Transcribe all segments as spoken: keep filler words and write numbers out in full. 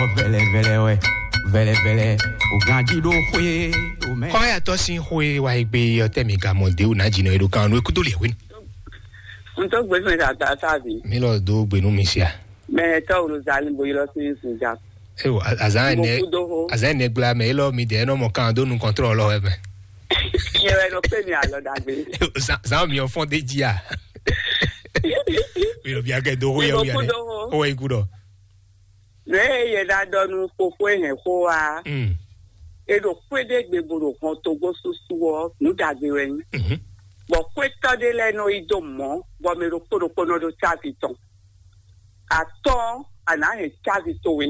Vɛlɛ vɛlɛ wɛ, vɛlɛ vɛlɛ, o ganji ɖo xwé o mɛ. Xɔyatɔ sín xwé wa yi gbé yɔ tɛ mi ka mɔ de o na jina e ɖo kan nú ekúdó lɛ wé. N tó gbé fún ìdàgbà sáàbì. Mi lɔ do gbénu mi sia. Mɛ tɔwulu zali bo yɔrɔ sí Zunja. Ewo, azan ne, azan ne gbla mɛ elɔ mi de nɔ mɔ kan do nu kɔntrɔ lɔ wɛ mɛ. Yɛ wɛ nɔ pé mi alɔ dagbe. Zan, zan mi ɔ fɔn de ji a. Mi lɔ bia kɛ do ho yɛ wia ne. O wɛ iku dɔ. Ne yɛ na dɔ nu fofo hɛn xo wa. Mm. E ɖo xwé ɖé gbe bo ɖo hɔn togbó susu ɔ, nǔ dagbe wɛ nyí. Mhm. Bɔ xwétɔ́ ɖé lɛ́ɛ nɔ yi dó mɔ̌, bɔ mɛ ɖokpó ɖokpó nɔ ɖó cávi tɔn. Atɔ́, a nǎ hɛn cávi towe.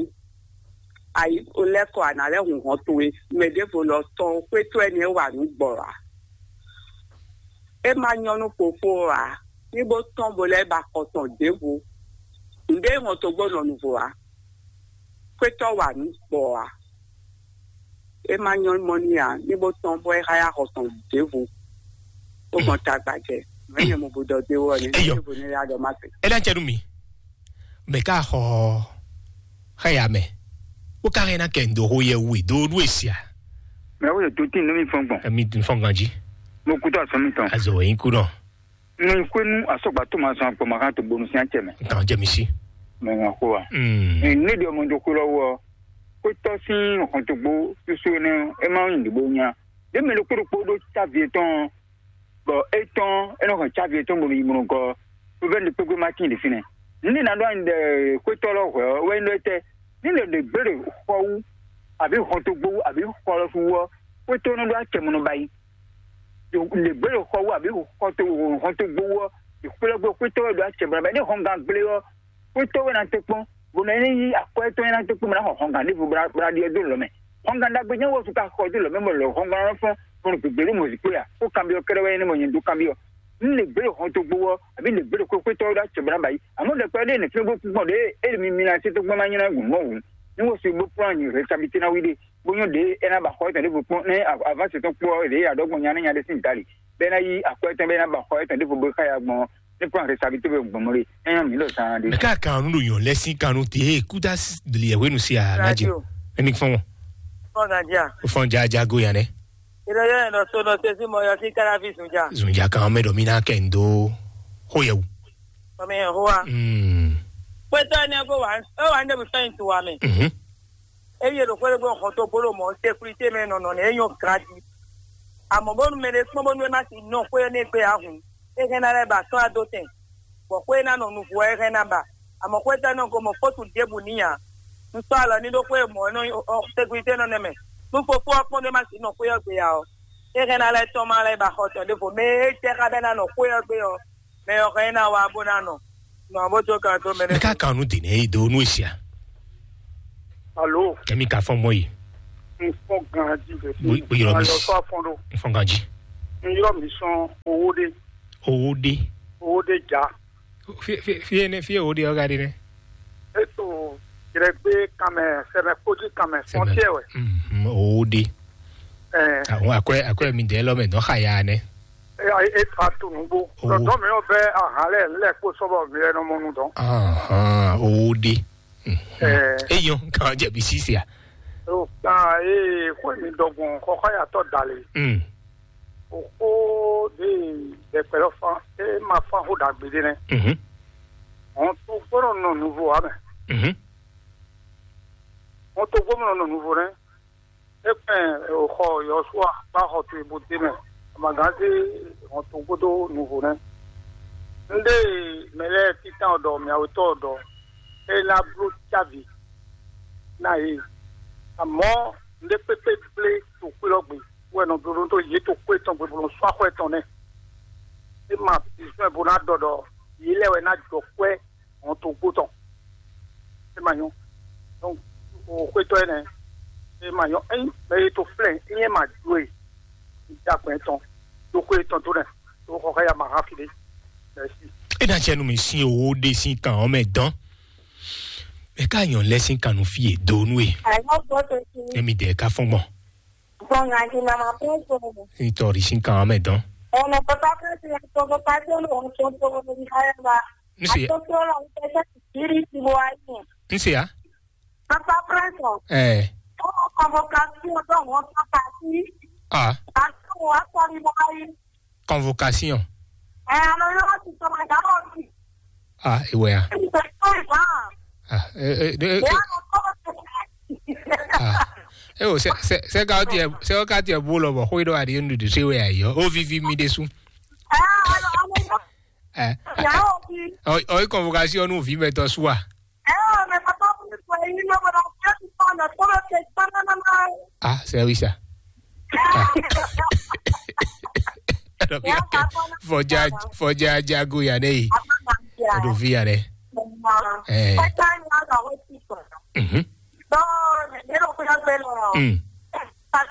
Ayi lɛ́ kɔ, a nǎ lɛ́ hun hɔn towe. Mɛ ɖěvo lɔ tɔn xwétɔ́ énɛ́ wa nǔ gbɔ ǎ. É ma nyɔ́ nú fofó ɔ́ ǎ, ní bó tɔ́n bo lɛ́ ba xɔ tɔn ɖěvo. Nǔɖé hɔn togbó nɔ nuvo ǎ. Xwétɔ́ wa nǔ gbɔ ǎ. É ma nyɔ́ mɔ n'i ǎ, ní bó tɔ́n bɔ é xá yá xɔ tɔn ɖěvo. Ó gbɔn tagba jɛ, mɛ nyɛ mo bo dɔ dé wɔ ni, Eyɔ. Ní bo ní yá dɔ má se. É ná jɛ nú mi. Mɛ ká xɔ xá ya mɛ. Ó ká hɛn ná kɛ ndo ho yɛ wú e do nú e sia. Mɛ wo yɛ do tín nú mi fɔn gbɔn. Emi fɔn ganji. Mo kú tó asɔ mi tɔn. Azɔ wɛ yín kú dɔn. Nɔ xwenu asɔgba tó ma zɔn agbɔma kan to gbonu sin acɛ mɛ. Nkan jɛ mi si. Mɛ ŋa xo wa. Mm. Ne ɖe ɔmɔ do xo lɔ wɔ. Kó tɔ sín hɔntogbo susu ne e ma yin ɖibo nya. Ɖe mɛ ɖokpó ɖokpó ɖó cavi etɔn. Bɔ etɔn e nɔ hɛn cavi etɔn bonu yi mɔnɔ gɔ. Provɛn ɖe kpégbé ma tin ɖe fínɛ. Ne na ɖo anyi ɖe xwetɔ lɔ hwɛ ɔ wɛ nyí ɖɔ etɛ. Ne ɖe ɖe gbé ɖe xɔ wú, àbí hɔntogbo wú, àbí xɔ lɔ su wú ɔ, xwetɔ nɔ ɖo acɛ mɔnɔ ba yi. Ɖe gbé ɖe xɔ wú, àbí xɔ to hɔntogbo wú ɔ, ɖe xwetɔ wɛ ɖo acɛ mɔnɔ ba yi. Ne hɔngan gblé ɔ, xwetɔ wɛ na te kpɔn, bɔ nɔ yi akɔ etɔn na te kpɔn, bɔ na xɔ hɔngan ɖěvo bla ɖiɛ dó lɔ mɛ. Hɔngan ɖagbe nyɛ wɔ su ka xɔ dó lɔ mɛ, bɔ lɔ hɔngan lɔ fɔn, bɔ nɔ gbegbe ɖo mɔzikpé ya, ko kanbyɔ kɛɖɛ wɛ nyɛ ne mɔ nyɛ dó kanbyɔ. N lè gbé hɔntogbo ɔ, àbí lè gbé ɖo xwétɔ ɖo acɛ bla ba yi. Àmọ́ ɖɛkpɛ ɖé nìkín bó kú gbɔn ɖé, é mi mi na títí gbɔn ma nyina gùn mɔ wù. Ní wọ́n sì bó kplɔ́n anyi rɛ́sabití ná wí ɖé, bó nyɔ́ ɖě é ná ba xɔ étɔn ɖěvo kpɔ́n, ní avásitɔn kpó ɔ́, ɖě adɔgbɔn nya ní nya ɖé sín dali, bɛ́ ná yí akwɛ́ tɔn bɛ́ ná ba xɔ étɔn ɖěvo bó xá ya gbɔn, ní kplɔ́n rɛ́sabití bó gbɔn mɔ ɖé. É nyɔ́ mǐ ɖo zan ɖé. Mɛ ká kan nu ɖo nyɔ̌ lɛ́ sín kan nu tě kúta liɛ̌hwenu se a ná jɛ. Radio. Ɛni fɔn wọn. Fɔn ganja. Fɔn jajago yan nɛ. Ìrọ̀lẹ́ ẹ̀ lọ sọ lọ sí sí mọ yọ sí káráfì sùn jà. Zùn jà kan mɛ dɔ mi ná kɛ ndo. Xó yẹ wù. Ọmọ yẹn hó wa. Mm. Pé tọ́ ẹni ẹ kó wà ó wà ní ẹbí fẹ́yìn tó wa mẹ́. Mhm. Eye ɖo xwé ɖé gbé xɔ tó gbóló mɔ sékúrité mɛ nɔnɔ nɛ é nyɔ gadi. Àmọ́ bónú mɛ ɖé kpɔ́n bónú é má ti nɔ xwé énɛ́ gbé ahùn, é hɛn ná lɛ́ ba sɔ́ adó tɛn, bɔ xwé ná nɔ nuvo ɛ hɛn ná ba. Àmọ́ xwé tɛ́ nɔ gomɔ fótu ɖěbǔ n'i ǎ. Un sɔ́ alɔ ní ɖó xwé mɔ̌ nɔ sékúrité nɔ nɛ mɛ. Nú fofó ɔ́ kpɔ́n ɖé má ti nɔ xwé ɔ́ gbé ǎ ɔ́, é hɛn ná lɛ́ tɔ́n má lɛ́ ba xɔ tɔn ɖěvo mɛ é jɛ xá bɛ́ ná nɔ xwé ɔ́ gbé ɔ́, mɛ ɔ́ hɛn ná wá bó ná nɔ. Nɔ bó tó kan tó mɛ Mɛ ká kan nu dì nɛ yi do nú esia. Alo, Kɛmi ka fɔn mɔ yi. N fɔn gan jí bɛ Bo- bo yɔrɔ mi Alɔ s- sɔ afɔn ɖo. N fɔn ganji. N yɔrɔ mi sɔn owó ɖe, Owó ɖe. Owó ɖe ja. Fie fie fie ne fie owó ɖe ɔga ɖe ne. Eto jrɛgbe kanmɛ sɛmɛ kpódí kanmɛ fɔntiɛ wɛ. Mhm, owó ɖe. Ɛ, Àwọn àkọ́ àkọ́ mi dẹ́ lọ́mọ ẹ̀dán xàyà ne. E e fa tu nugbo. Owó. Dɔdɔ mi yɔ bɛ ahan lɛ lɛ kpó sɔbɔ mi lɛ nɔ mɔ nu dɔn. Ahan, owó ɖe. Mhm. Ɛ. Eyɔn kan jẹ̀bi sísè à. O kan ee xɔ mi dɔgbɔn xɔxɔ yàtọ̀ dali. Mm. O ko de dɛkpɛ lɔ fan e ma fan xo dagbe de nɛ. Mhm. Hɔn to gbɔdɔ nɔ nuvo wa mɛ. Mhm. Hɔn to gbɔdɔ nɔ nuvo nɛ. E kpɛn o xɔ Yɔsua ba xɔ to ibo de mɛ. Amaganze hɔn to gbɔdɔ nuvo nɛ. Nde mɛ lɛ titan dɔ miawetɔ dɔ e na blo cavi na ye. Amɔ nde kpekpe gble to kpe lɔ gbe. Wɛ nɔ blóɖó tó yě tó kó etɔn gbe bó nɔ sɔ́ axɔ etɔn nɛ. É ma bizɔ́n bó ná ɖɔ ɖɔ yě lɛ́ wɛ ná jɔ kwɛ́ hɔn tó gbó tɔn. É ma nyɔ́. Donc o xwétɔ́ énɛ́, é ma nyɔ́. Ényí mɛ e tó flɛ́ ényí é ma jó e, un dá gbɛn tɔn dó xwé tɔn dó nɛ, dó xɔ xá ya ma hán fi ɖé. Merci. É ná jɛ nú mi sín owó ɖé sín kan ɔ́ mɛ dán. Mɛ ká nyɔ̌ lɛ́ sín kan nú fí e dó nú e. Àìmọ́ gbọ́ tó ti. Émi dẹ̀ ká fɔ́n gbɔn. Gbɔngàn di mama kún kún. Nítorí sí kan mɛ dán. Ọ̀nà papa kan ti na tọkọ pàṣẹ ló ń tó tó ní ayaba. Ń ṣe. Àtúntò lọ ń tẹ́tẹ́ ìrírí ti wọ ayé. Ń ṣe á. Papa kan Ɛ. Convocation ɖo wɔn sɔkasi. Ah. Kasi wɔn akɔri mɔ ayi. Convocation. Ɛ, alo yɔ ti tɔmɔ da wɔ ti. Ah, ìwé ya. Ti tɔmɔ da. Ah, ɛ, ɛ, ɛ, ɛ. Ɛ, alo tɔmɔ tɛ. Ah. Ɛ o, sɛ, sɛ, sɛ ka tiɛ, sɛ ka tiɛ bó lɔ bɔ xwé ɖɔ aɖi nu ɖiɖi xwé wɛ ayɔ. O vivi mi ɖe su. Ɛ, alo, alo yɔ. Ɛ. Ya o bi. O, o convocation nu vi mɛ tɔ su a. Ɛ, o mɛ papa mi ko yi no bɔ na ti tɔmɔ na tɔmɔ tɛ tɔmɔ na na. Ah, c'est oui ça. Ah. Fɔjá, fɔjá jago ya ne yi. Odo vi ya ne. Eh. Mhm. Mm. Ah,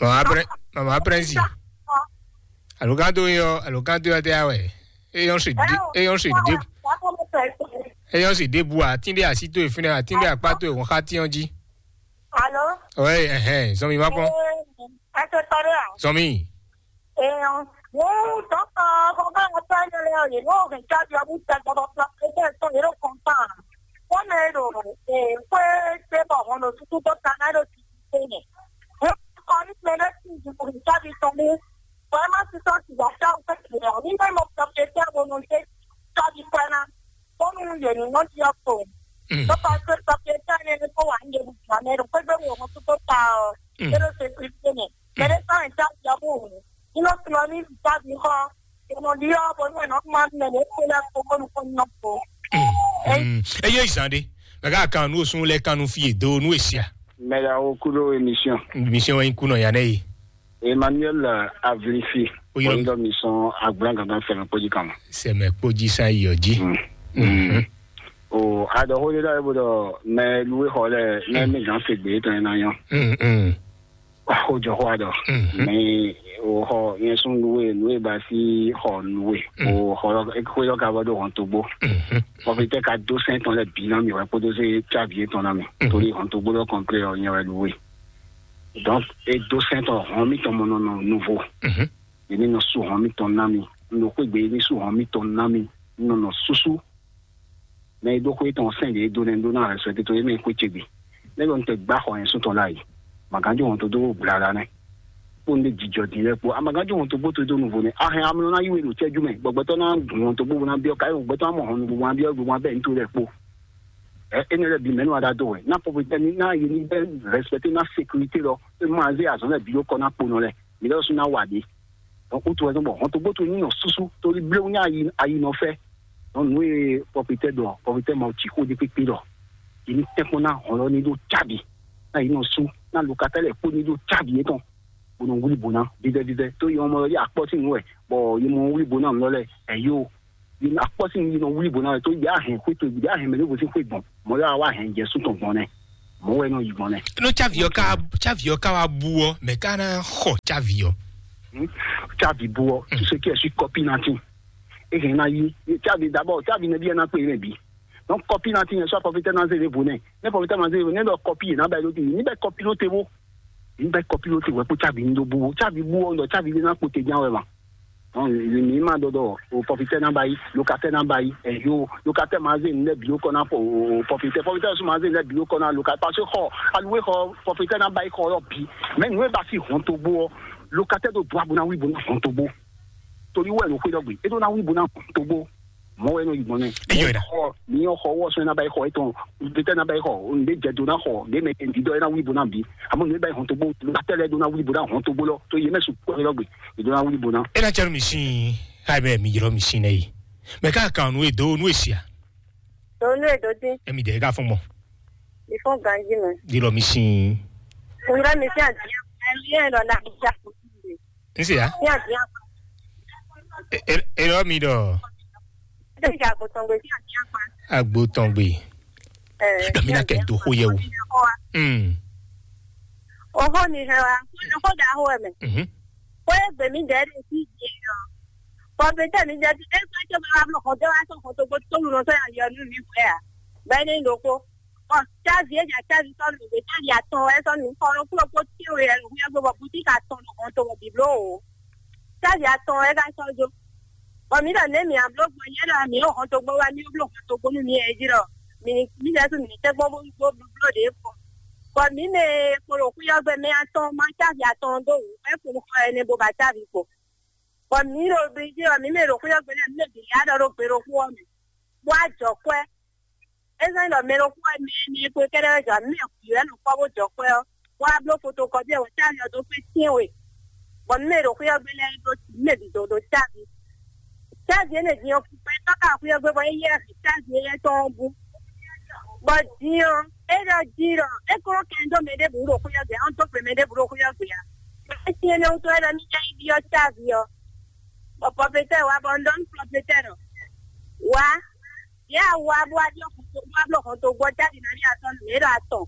mama pre-, mama prince. Alo kan to yo, alo kan to yo te awe. Eyɔn si di, eyɔn si di. Eyɔn si di bu atin de asi to efine, atin de akpa to ehun xati ɔn ji. Alo? Oui, ɛhɛn, zɔn mi ma kpɔn. Ɛ, ɛ tɛ tɔ ɖe a? Zɔn mi. Ee, ɔn. Wo dɔkta, xɔ bá ŋa tɔ ɛnɛ lɛ, yě nɔ hɛn cábi ɔ́ bú tɛ gbɔdɔ kplɔ pé tɛ tɔn yě ɖo kɔn tán. Kɔmɛ ɖo, ee, xwé tɛ bɔ hɔn ɖo tutu dɔkta ná ɖo tutu tɛ nɛ. Hɛn kɔ ní mɛ ɖé sin ju hɛn cábi tɔn ɖé. Bɔ ɛ má sísɔ sìgá tá o fẹ́ kìlẹ̀ ɔ́, ní bá mɔ kpɛkpɛ tɛ bo nɔ dé cábi kpɛ ná. Bónú yě ní nɔ ɖi ɔ́ kpo. Mm. Tó pa pé kpɛkpɛ tɛ ní kó wà ní yebu gbà mɛ ɖo kpégbé wo hɔn tutu ta ɔ́. Mm. É ɖo sécurité mɛ. Mɛ ɖé sɔ́ nyǐ tá ɖiɔ́bú wǔ. Ní nɔ sɔ́ ní tábìlì xɔ. È nɔ ɖiɔ́ bɔ nú è nɔ kpɔ́n mɛ ɖě kpó lɛ́ɛ kpó bónú kó nɔ kpó. Mm. Eye zan ɖe, mɛ ká kan nú osún lɛ kan nú fí e do nú esia. Mɛ ɖa wo kú ɖó émission. Émission wɛ nyí kú nɔ ya nɛ yi. Emmanuel Avlifi. Oyɔ. Oyɔ mi sɔn agblán gangan fɛmɛ kpódí kan. Sɛmɛ kpódí sa yɔ jí. Mm. Mhm. O adɔxo ɖé ɖɔ bó ɖɔ mɛ luwe xɔ lɛ mɛ Mm. mi gán se gbé tɔn ná yɔ. Mm, mm. Xó jɔ xó aɖɔ. Mhm. Mɛ o xɔ yẹn sún luwe luwe ba sí xɔ luwe. Mm. O xɔ xó yɔ ka bɔ ɖo hɔn tó gbó. Mhm. Kɔfitɛ ka dó sɛn tɔn lɛ bi ná mi wɛ kpódó sé tsavi tɔn ná mi. Mhm. Torí hɔn tó gbó lɔ kɔnplé ɔ nyɛ wɛ luwe. Donc e dó sɛn tɔn hɔn mi tɔn mɔ nɔ nɔ nouveau. Mhm. Yě ní nɔ sú hɔn mitɔn ná mi. Un ɖo xwé gbe, yě ní sú hɔn mitɔn ná mi. Un nɔ nɔ súsú. Mɛ e ɖó xwé tɔn sɛn ɖě e dó nɛ́ ɖó ná hɛn sɛ́ tito yě mɛ e xwé ce gbe. Nɛ́ ɖɔ un tɛ gbá xɔ yɛn sún tɔn láàyè. Màgánjó hɔn tó dó gbla ɖa nɛ́. Kpó un ɖe jijɔ din lɛ́ɛ kpó. A màgánjó hɔn tó gbó tó dó nuvo nɛ́. A hɛn amlɔ ná yí we ɖo cɛ́jú mɛ. Gbɔgbɛtɔ́ ná gun hɔn tó gbó ná byɔ́ káyé gbɔgbɛtɔ́ ná mɔ hɔn nuvo ná byɔ́ gbogbo ná bɛ́ ní tó lɛ́ɛ kpó. Ɛ énɛ́ lɛ́ɛ bǐ mɛ nú aɖá dó wɛ. Ná pɔpitɛ ní ná yě ní bɛ́ rɛspɛté ná sékurité lɔ. É má zé azɔ̌ lɛ́ɛ bǐ ɖó kɔ ná kponɔ lɛ́ɛ. Mǐ lɛ́ ɖo sú ná wa ɖě. Donc, wútu wɛ zɔ́n bɔ hɔntogbó towe ní nɔ súsú, torí bléwún ní ayi, ayi nɔ fɛ. Donc, nǔ e pɔpitɛ ɖɔ, pɔpitɛ ma ci xó ɖé kpékpé ɖɔ, yě ní tɛ́nkpɔ́n ná hɔn lɔ ní ɖó cábi, ná yě nɔ sú, ná lokatɛ́ lɛ́ɛ kpó ní ɖó cábi yětɔn, bó nɔ wlí bǒ ná vívɛ́ vívɛ́. Tó yě mɔ yě akpɔ́ sín nǔ wɛ, bɔ yě mɔ wlí bǒ ná nǔ lɔ lɛ́ɛ, ɛ̌ yó, yě akpɔ́ sín nǔ yě nɔ wlí bǒ ná wɛ, tó yě á hɛn xwé towe, yě á hɛn mɛ ɖěvo sín xwé gbɔn, mɔ̌ lɛ́ɛ wá hɛn jɛ sú tɔn gbɔn nɛ́, mɔ̌ wɛ nɔ yi gbɔn nɛ́. Nú cávi ɔ́ ka, cávi ɔ́ ka wá bú ɔ́, mɛ ka ná xɔ cávi ɔ́? Hmm? Cávi bú ɔ́, tu ce qui est sur copie natin. E hɛn ná yí. Cávi d'abord, cávi nɛbí ɛ ná kpé yé mɛ bǐ. Donc, copie natin yẹn sɔ pɔfitɛ ná zé vo nɛ. Ne pɔfitɛ ma zé vo nɛ, lɔ copie yé ná bɛ ló ti. Ní bɛ copie ló te wo. Ní bɛ copie ló te wɛ kó cávi ní dó bú wo. Cávi bú ɔ́, lɔ cávi lé ná kpó te ján wɛ ma. Donc, mi ma dɔdɔ o pɔfitɛ ná ba yi, lokatɛ ná ba yi, ɛ yo, lokatɛ ma zé nɛ bi o kɔ na pɔ o pɔfitɛ, pɔfitɛ sɔ ma zé nɛ bi o kɔ na lokatɛ, parce que xɔ, aluwe xɔ, pɔfitɛ ná ba yi xɔ yɔ bi. Mais nú e ba fi hɔn to gbó ɔ, lokatɛ do bua bo na wi bo na hɔn to gbó. Torí wɛ ló xwé dɔ gbe, e do na wi bo na hɔn to gbó. Mɔ wɛ nɔ yi gbɔn nɛ. Eyɔ da. Xɔ, mi yɔ xɔ wɔ sɔn na ba yi xɔ etɔn, pɔfitɛ ná ba yi xɔ, nde jɛ do ná xɔ, nde mɛ ndi dɔ e ná wi bo ná bi. Àmọ́ nde ba yi hɔn to gbó, lokatɛ lɛ do ná wi bo na hɔn to gbó lɔ, to ye mɛ su kɔ lɔ gbe. Ìjọba wuli bò náà. Ena tsɛnu mi sin, ha bɛ mi yɔrɔ mi sin nɛ yi. Mɛ ka kan nu edo nu esia. Do nu edo di. Emi de ka fɔn mɔ. Mi fɔn ganji mɛ. Di lɔ mi sin. Kunra mi sin adi. Ɛmi yɛ lɔ na mi ja. N se ya. Sin adi. E e lɔ mi dɔ. Ɛmi ja ko tɔn gbe sin adi. Agbo tɔn gbe. Dɔ mi na kɛ do xo yɛ o. Mm. Oxó ni hɛn wá, xó ɖaxó wɛ mɛ. Mhm. Xó e gbě mǐdɛɛ ɖe fí din ɔ́, kɔmpitɛ mǐdɛɛ ɖe é sɔ́ cóbɔ wá bló xɔdó wá sɔ́ xɔdó gbó tólu nɔ sɔ́ nyi ali ɔ́ nú mǐ hwɛ ǎ. Bɔ é ní nyí ɖokpó. Bɔ cávi é nya cávi sɔ́ nǔ ɖé, cávi atɔn wɛ sɔ́ nǔ xɔ ɖokpó ɖokpó tɛ́nwe wɛ ɖo xwé ɔ́ gbe bɔ butíki atɔn ɖo hɔn to bɔ bǐ bló o. Cávi atɔn wɛ é ka sɔ́ jó. Bɔ mǐ ɖɔ nɛ̌ mǐ a bló gbɔn nyɛ ɖɔ mǐ ɖo hɔn to gbó wá, mǐ bló hɔn to gbó nú mǐ ɛ jí ɖɔ mǐ ní mǐ lɛ́ɛ mǐ ní tɛ́ gbɔn bó bó bló ɖě kpɔn. Bɔ mǐ mɛ e kpo ɖo xwíyɔ́gbɛ́ mɛ atɔn ma cávi atɔn dó wǔ, é kpo xɔ ɛnɛ bó ba cávi kpo. Bɔ mǐ ɖo bǐjí ɔ́, mǐ mɛ ɖo xwíyɔ́gbɛ́ lɛ́ɛ, mǐ mɛ bǐ lɛ́ɛ ɖɔ ɖó gbe ɖokpó ɔ́ mɛ, bó wá jɔ kwɛ́. É zɔ́n ɖɔ mɛ ɖokpó wɛ mɛ énɛ́ kpó kɛ́ɖɛ́ wɛ jɔ, mǐ mɛ bǐ wɛ nɔ kpɔ́ bó jɔ kwɛ́ ɔ́, bó wá bló fotokɔ́pi ɔ́ wɛ cávi ɔ́ dó kpé tɛ́nwe. Bɔ mǐ mɛ ɖo xwíyɔ́gbɛ́ lɛ́ɛ ɖó mǐ mɛ bǐ dó dó cávi. Cávi énɛ́ din ɔ́, kpɛtɔ́ ka xwíyɔ́gbɛ́ bɔ é yɛ cávi éyɛ́ tɔn ɔ́ bú. Bɔ din ɔ́, é ɖɔ jí ɖɔ é kó kɛn dó mɛ ɖěbǔ ɖo xwíyɔ́gbɛ́ ɔ́, dó gbe mɛ ɖěbǔ ɖo xwíyɔ́gbɛ́ ǎ. É sín énɛ́ wútu wɛ ɖɔ ní jɛ yi ɖyɔ́ cávi ɔ́, bɔ pɔpetɛ́ wá bɔ un ɖɔ nú pɔpetɛ́ ɖɔ: "Wá, yě a wá bó wá ɖyɔ́ hɔntogbó, bó wá bló hɔntogbó ɔ́ jáde ná ɖi atɔn nú mǐ ɖo atɔn."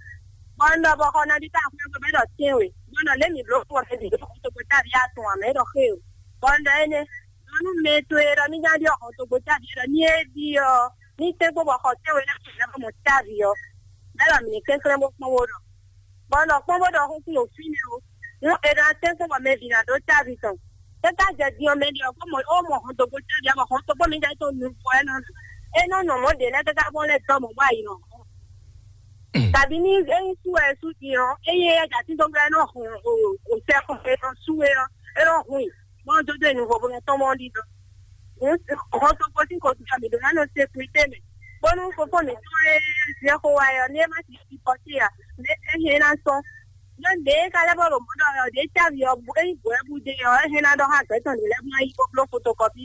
Bɔ un ɖɔ bɔ xɔ nabí ka xwé gbé ɖɔ tɛ́nwe, bɔ un ɖɔ lě mǐ bló fɔ mɛ bǐ ɖo hɔntogbó jáde atɔn ǎ mɛ ɖɔ xé o. Bɔ un ɖɔ énɛ́, ɖɔ nú mɛ towe ɖɔ ní ná ɖyɔ́ hɔntogbó jáde ɖɔ ní é ɖi ɔ́, ní tɛ́nkpɔ́n bɔ xɔ tɛ́nwe lɛ́ɛ xwé lɛ́ɛ bɔ mɔ cávi ɔ́, mɛ ɖɔ mǐ ní kɛnklɛ́n bó kpɔ́n bó ɖɔ. Bɔ un ɖɔ kpɔ́n bó ɖɔ xúxú ɖo fínɛ́ o. Nú è ɖo atɛ́nkpɔ́n bɔ mɛ bǐ ná ɖó cávi tɔn, é ka jɛ din ɔ́ mɛ ɖi ɔ́, bó mɔ ó mɔ hɔntogbó cávi ɔ́, bɔ hɔntogbó mi jɛ tó nu fɔ ɛ nɔ. É nɔ nɔ mɔ̌ ɖě lɛ́ɛ káká bɔ lɛ́ dɔ́ mɔ̌ bɔ ayi nɔ. Tàbí ní é nyí sú wɛ é sú din ɔ́, é nyí éyɛ́ jǎ tíndɔ́ngbɛ́ é nɔ hun o sɛ́xɔ é nɔ sú é ɔ́, é nɔ hun i, bɔ un dó dó e nu vovo tɔn mɔ ɖi dɔn. Hɔntogbó sín xɔsújɔ mǐ ɖó ná nɔ sékurité mɛ, bónú fofó mǐtɔn e zɛ xo wá ɛ ɔ́, ní é má ti fi kɔsí ǎ, é hɛn ná sɔn. Ɖó ɖě é ka lɛ́ bɔ ɖo mɔ̌ ɖɔ ɔ́, ɖě cávi ɔ́, é nyí bǔ wɛ bú dé ɔ́, é hɛn ná ɖɔ xá gbɛ̌ tɔn ɖě lɛ́ɛ bó ná yi bó bló fotokɔpi.